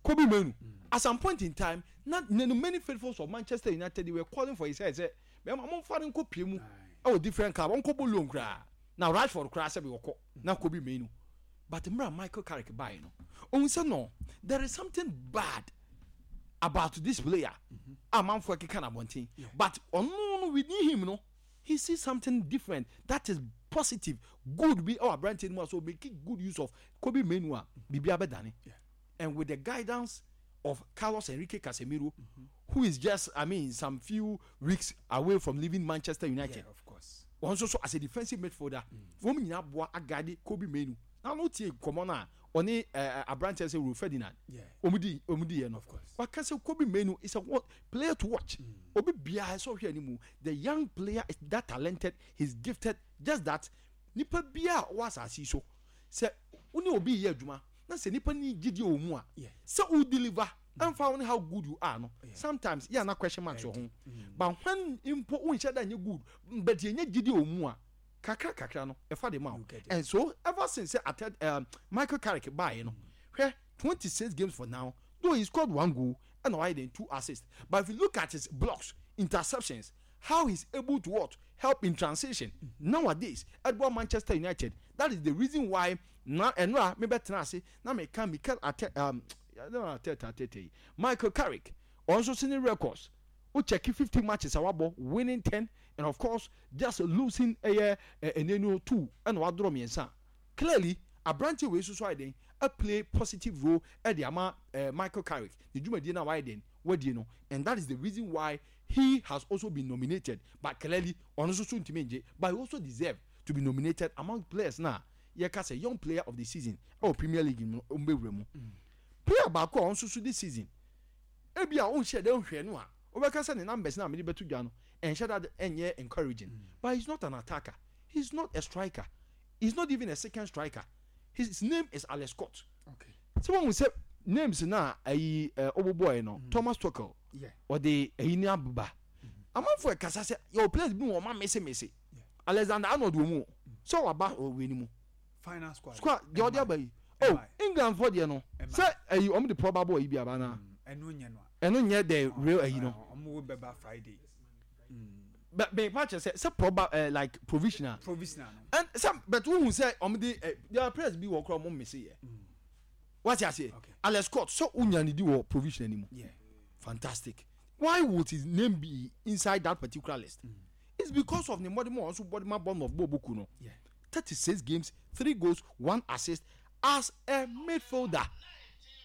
Kobbie Mainoo, at some point in time, na many faithfuls of Manchester United, they were calling for his head sɛ, bɛrima momfa no nkɔ pie mu ɛwɔ different club, ɔnkɔbɔ loan koraa. Na Rashford koraa sɛbe ɔkɔ na Kobbie Mainoo. But mmerɛ a Michael Carrick baeɛ no, ohun sɛ no, there is something bad about this player a manfoɔ ɛkeka no abɔnten. But ɔno no within him no, he sees something different that is positive, good bi ɛwɔ aberanteɛ no mu a so make good use of Kobbie Mainoo a biribi abɛdane. And with the guidance of Carlos Enrique Casemiro, who is just, I mean, some few weeks away from leaving Manchester United. Yeah, of course. Wɔn nso so as a defensive midfielder, wɔn nyinaa boa aguide Kobbie Mainoo. Na no tie nkɔmɔ no a ɔne aberanteɛ sɛ Rio Ferdinand wɔn di wɔn di yɛ no. Of course. Waka sɛ Kobbie Mainoo is a player to watch. Obi biara sɛ ɔhwɛ anim, the young player is that talented, he's gifted, just that nipa biara a ɔwɔ asase yi so sɛ wo ne obi yɛ adwuma na sɛ nipa ni gyidie wɔ mu a sɛ wo deliver ɛnfa wo ne how good you are no, sometimes yɛ ana question marks wɔ ho, but when mpo wo nhyɛ da nyɛ good but yɛ nyɛ gyidie wɔ mu a, kakra kakra no ɛfa de ma wo. And so ever since sɛ atɛ Michael Carrick baeɛ no, hwɛ 26 games for now, though he scored one goal ɛna wayɛ den two assists, but if you look at his blocks, interceptions, how he's able to what help in transition nowadays ɛboa Manchester United, that is the reason why na ɛnora mebɛtena ase na meka Mikel Arte Arteta Arteta yi, Michael Carrick ɔno nso se ne records wo check 50 matches a wabɔ, winning 10 and of course just losing ɛyɛ ɛnɛ no two ɛna wadorɔ mmiɛnsa. Clearly aberanteɛ wei nso so ayɛ den a play positive role ɛde ama Michael Carrick ne dwumadie no a wayɛ den wadie no, and that is the reason why he has also been nominated, but clearly ɔno nso so ntumi ngye, but he also deserve to be nominated among players na yɛka sɛ young player of the season ɛwɔ Premier League mu no ɔmbɛwura mu. Player baako a ɔno nso so this season ebi a ɔnhyɛ dɛ nhwɛ no a wobɛka sɛ ne numbers na mede bɛto dwa no ɛnhyɛ da ɛnyɛ encouraging, but he's not an attacker, he's not a striker, he's not even a second striker. His name is Alex Scott. Sɛ wɔn sɛ names na ayi ɔbobɔɛ no, Thomas Tuchel ɔde ayi ne abeba amanfo ɛkasa sɛ yɛwɔ players bi wɔn ma mesemese Alexander Arnold wɔ mu sɛ waba ɔwɔ ne mu final squad squad deɛ ɔde aba yi, oh, England fo deɛ no sɛ ayi wɔn de probable ayi bi aba na ɛno nyɛ no ɛno nyɛ the real ayi no. Ɔmo bɛba Friday. Bɛ bɛ pa kyerɛ sɛ proba like provisional. Provisional no. And sɛ but wohu sɛ ɔmo de there are players bi wɔ kora ɔmo mmese yɛ. Wate aseɛ? Alex Scott sɛ wonya ne di wɔ provisional ni mu. Fantastic. Why would his name be inside that particular list? It's because of ne mmɔde mu a ɔnso bɔde ma Bournemouth bɔ boku no. 36 games, 3 goals, 1 assist as a midfielder.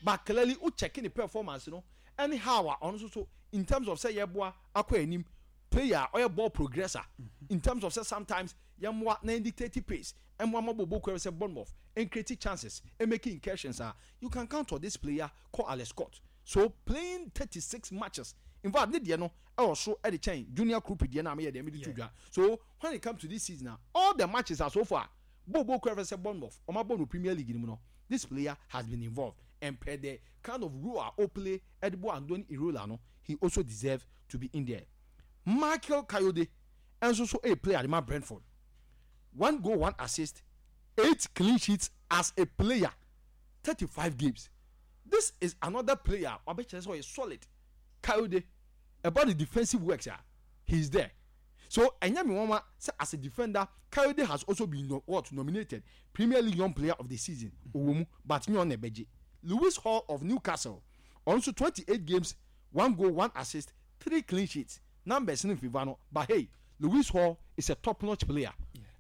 But clearly wo check ne performance no ɛne how a ɔno nso so in terms of sɛ yɛboa akɔ anim, player a ɔyɛ ball progresser in terms of sɛ sometimes yɛmmoa na dictate pace, ɛmmoa ma bɔbɔ kura sɛ Bournemouth and create chances and making incursions a, you can count on this player called Alex Scott. So playing 36 matches. In fact, ne deɛ no ɛwɔ so ɛde kyɛn Junior Kroupi deɛ no a meyɛ deɛ mede to dwa. So when it comes to this season a, all the matches a so far Bobo kura fɛ sɛ Bournemouth wɔn abɔ no Premier League no mu no, this player has been involved and per the kind of role a ɔplay ɛde bɔ Andoni Iraola no, he also deserves to be in there. Michael Kayode nso so ɛreplay ade ma Brentford. One goal, one assist, eight clean sheets as a player, 35 games. This is another player wabɛkyerɛ sɛ ɔyɛ solid. Kayode, ɛba ne defensive works a, he is there. So ɛnyɛ me nwanwa sɛ as a defender, Kayode has also been no, what nominated Premier League Young Player of the Season. Ɔwɔ mu, but nyɛ ɔno na ɛbɛgye. Lewis Hall of Newcastle, ɔno nso 28 games, one goal, one assist, three clean sheets. Numbers no mfiva no, but hey, Lewis Hall is a top notch player.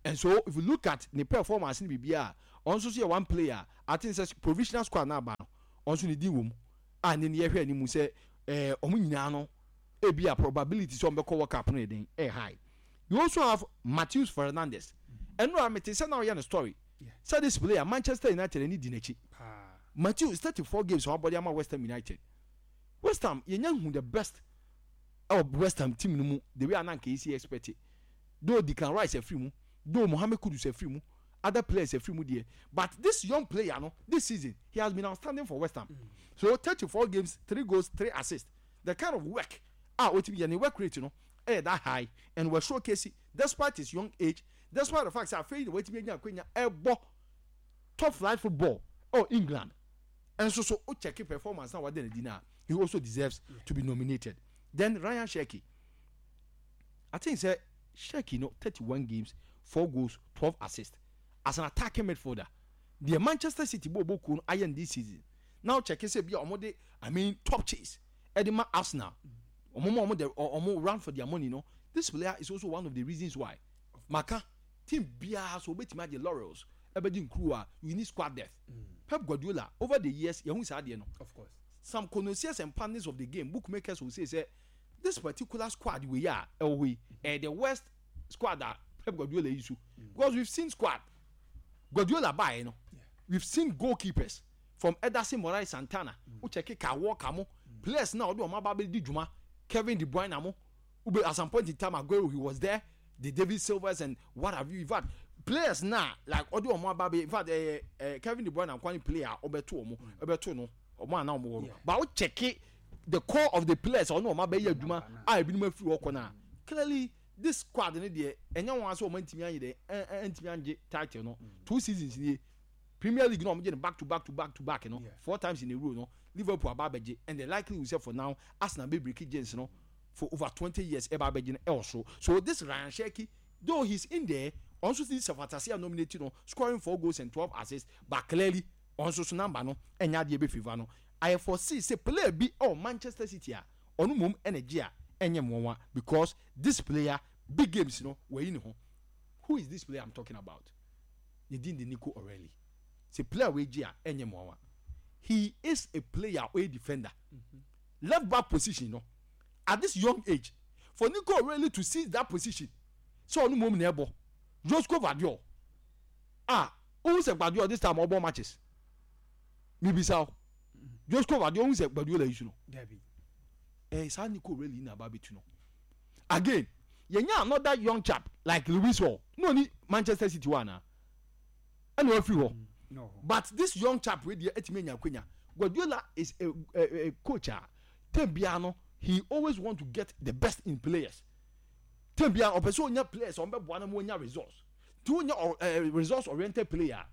And so if you look at ne performance ne biribiara a, ɔno nso so yɛ one player a I think sɛ provisional squad no aba no, ɔno nso ne din wɔ mu a ne ne yɛhwɛ anim sɛ eh, wɔn nyinaa no ebi a probability sɛ wɔn bɛkɔ World Cup no yɛ den, ɛyɛ high. You also have Matheus Fernandes. Ɛno a mete sɛ na ɔyɛ no story sɛ this player Manchester United ani di n'akyi. Matheus 34 games a wabɔ de ama West Ham United. West Ham yɛnya hu the best ɛwɔ West Ham team no mu the way a na anka yɛsi expect it. Though Declan Rice afiri mu, though Mohammed Kudus afiri mu, other players afiri mu deɛ, but this young player no this season he has been outstanding for West Ham. So 34 games, 3 goals, 3 assists. The kind of work a otumi yɛ ne work rate no ɛyɛ that high and wɔ showcase despite his young age, despite the fact sɛ afei na watumi anya akwanya ɛbɔ top flight football ɛwɔ England. Nso so o check performance na wada n'adi no a, he also deserves to be nominated. Then Ryan Cherki, I think sɛ Cherki no 31 games, 4 goals, 12 assists as an attacking midfielder. Deɛ Manchester City bɔ ɔbɔ kuo no ayɛ no this season. Now check sɛ bi a wɔn de, I mean, top chase ɛde ma Arsenal. Wɔn ma wɔn de wɔn run for their money no. This player is also one of the reasons why. Maka team biara so obetumi agye laurels ɛbɛgye nkuru a, you need squad depth. Pep Guardiola over the years yɛhu saa adeɛ no. Of course. Some connoisseurs and pundits of the game, bookmakers will say sɛ this particular squad wei a ɛwɔ hɔ yi ɛyɛ the worst squad a Pep Guardiola yi so. Because we've seen squad Guardiola baeɛ no, we've seen goalkeepers from Ederson Moraes Santana, wo check Kyle Walker mo, players na ɔde wɔn aba abɛdi dwuma, Kevin De Bruyne mo, wobɛ at some point in time Aguero he was there, the David Silvers and what have you. In fact, players na like ɔde wɔn aba abɛ, in fact ɛyɛ ɛɛ Kevin De Bruyne nkwa ne player a ɔbɛto wɔn ɔbɛto no wɔn a na wɔn wɔ no, but wo check the core of the players ɔne wɔn abɛyɛ adwuma a ebinom afiri hɔ kɔ na clearly this squad ne deɛ ɛnyɛ wɔn asɛ wɔn antumi anyɛ dɛ ɛn ɛntumi angye title no two seasons nie. Premier League no a wɔgye no back to back to back to back no four times in a row no, Liverpool aba abɛgye and the likelihood sɛ for now Arsenal bɛ break jinx no for over 20 years ɛba abɛgye no ɛwɔ soro. So this Ryan Cherki though he's in there, ɔno nso si sɛ fata sɛ yɛ nominate no scoring four goals and 12 assists, but clearly ɔno nso so number no ɛnyɛ adeɛ ɛbɛ favour no. I foresee sɛ player bi ɛwɔ Manchester City a ɔno mmom ɛna gye a ɛnyɛ nwanwa because this player big games no wayi ne ho. Who is this player I'm talking about? Ne din de Nico O'Reilly. Sɛ player wei gye a, ɛnyɛ mmoawa. He is a player a ɔyɛ defender. Left back position no, at this young age, for Nico O'Reilly to seize that position, sɛ ɔno mmom na ɛbɔ, Josko Gvardiol, a wohu sɛ Gvardiol this time ɔbɔ matches. Mibisa wo, Josko Gvardiol wohu sɛ Guardiola yi su no? Dabi. Eh, saa Nico O'Reilly na aba abɛtu no. Again, yɛnya another young chap like Lewis Hall, na ɔni Manchester City hɔ anaa? Ɛna wafiri hɔ. But this young chap wei deɛ atumi anya akwanya. Guardiola is a coach a term biara no he always want to get the best in players. Term biara ɔpɛ sɛ onya players a wɔbɛboa no ma wɔnya results. Nti wonya results oriented player a,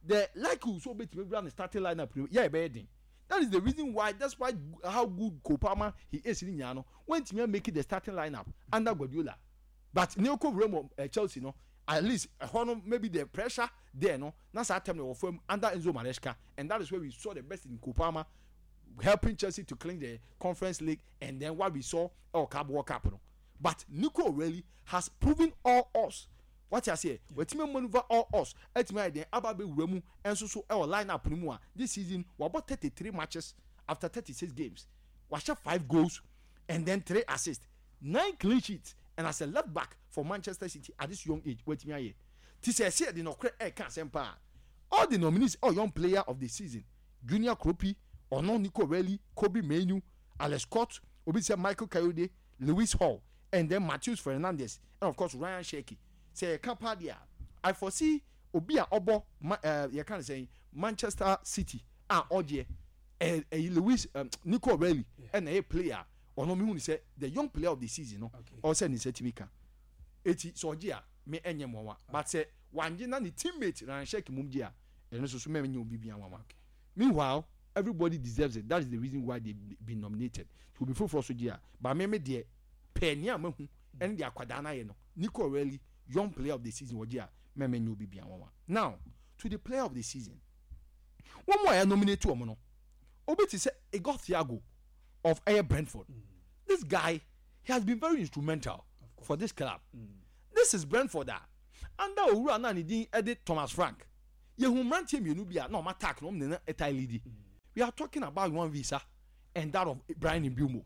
the likelihood sɛ obetumi awura ne starting lineup no yɛ ɛbɛyɛ den. That is the reason why despite how good Cole Palmer he is ne nyinaa no, wantumi a make the starting lineup under Guardiola. But ne ɔkɔ wura mu eh, Chelsea no, at least ɛhɔ no maybe the pressure there no, na saa term no wɔ fam under Enzo Maresca, and that is where we saw the best in Cole Palmer helping Chelsea to clinch the Conference League and then what we saw ɛwɔ Club World Cup no. But Nico O'Reilly has proven all us. Wate aseɛ? Watumi amaneuver all odds atumi ayɛ dɛn aba abɛwura mu nso so wɔ line up no mu a this season wabɔ 33 matches after 36 games. Wahyɛ 5 goals and then 3 assists, 9 clean sheets and as a left back for Manchester City at this young age watumi ayɛ. Ti sɛ ɛsɛ yɛde nɔkorɛ ɛreka asɛm paa. All the nominees ɛwɔ young player of the season, Junior Kroupi, ɔno, Nico O'Reilly, Kobbie Mainoo, Alex Scott, Obi sɛ Michael Kayode, Lewis Hall, and then Matheus Fernandes, and of course Ryan Cherki. Sɛ yɛka paa deɛ a, I foresee obi a ɔbɔ ma ɛɛ yɛka ne sɛn, Manchester City a ɔgyeɛ ɛɛ ɛyi Lewis Nico O'Reilly ɛna ɛyɛ player a ɔno mehu ne sɛ the young player of the season no ɔwɔ sɛ ne nsa tumi ka. Eti sɛ ɔgye a, me ɛnyɛ mmoawa, but sɛ wangye na ne teammate Ryan Cherki mom gye a, ɛno nso so mɛnyɛ obi biara nwanwa. Meanwhile, everybody deserves it, that is the reason why they been nominated. Nti obi foforɔ so gye a, but me me deɛ pɛɛ nea mahu ɛne deɛ akwadaa no ayɛ no, Nico O'Reilly, young player of the season, ɔgye a, mɛmɛ nyɛ obi biara nwanwa. Now, to the player of the season, wɔn a yɛ nominate wɔn no, obi te sɛ Igor Thiago of ɛyɛ Brentford. This guy, he has been very instrumental for this club. This is Brentford a under owura no a ne din de Thomas Frank. Yɛhu mmeranteɛ mmienu bi a na wɔn attack no wɔn ne no taa leadi. We are talking about Yohan Wissa and that of Bryan Mbeumo.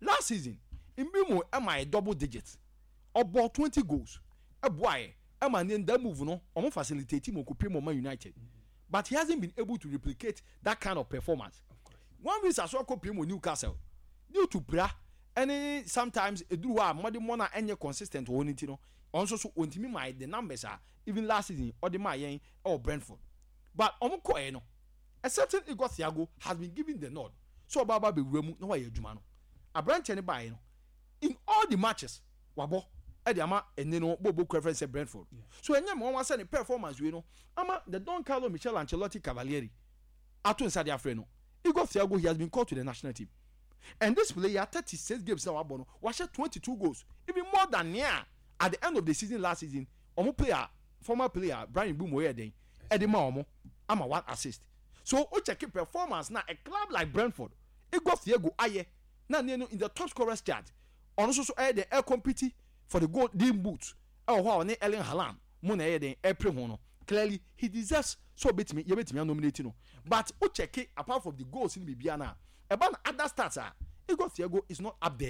Last season, Mbeumo ma yɛ double digits. Ɔbɔɔ 20 goals boaeɛ ma ne that move no wɔn facilitate ma ɔkɔpue mu wɔ Man United. But he hasn't been able to replicate that kind of performance. Yohan Wissa nso akɔpue mu wɔ Newcastle due to pira ne sometimes ɛduru hɔ a mmɔdemmɔ no a ɛnyɛ consistent wɔ hɔ no nti no, ɔno nso so ɔntumi mmae the numbers a even last season ɔde maa yɛn wɔ Brentford. But wɔn kɔɛ no, a certain Igor Thiago has been given the nod sɛ ɔba aba abɛwura mu na wayɛ adwuma no. Aberanteɛ no baeɛ no, in all the matches wabɔ de ama ɛnne no bɔɔlbɔ kuo a yɛfrɛ no sɛ Brentford. So ɛnyɛ me nwanwa sɛ ne performance wei no ama the Don Carlo Michel Ancelotti Cavalieri ato nsa de afrɛ no. Igor Thiago, he has been called to the national team. And this player, 36 games na wabɔ no, wahyɛ 22 goals, even more than nea at the end of the season last season wɔn player, former player Bryan Mbeumo yɛɛ dɛn ɛde ma wɔn ama one assist. So wo check performance na a club like Brentford, Igor Thiago ayɛ na ne no in the top scorers chart, ɔno nso so ɛyɛ dɛn ɛcompete for the golden boot ɛwɔ hɔ a ɔne Erling Haaland mo na ɛyɛ dɛn ɛpere ho no, clearly he deserves sɛ ɔbɛtumi yɛbɛtumi anominate no. But wo check apart from the goals ne biribiara no a, ɛba no other stats a, Igor Thiago is not up there.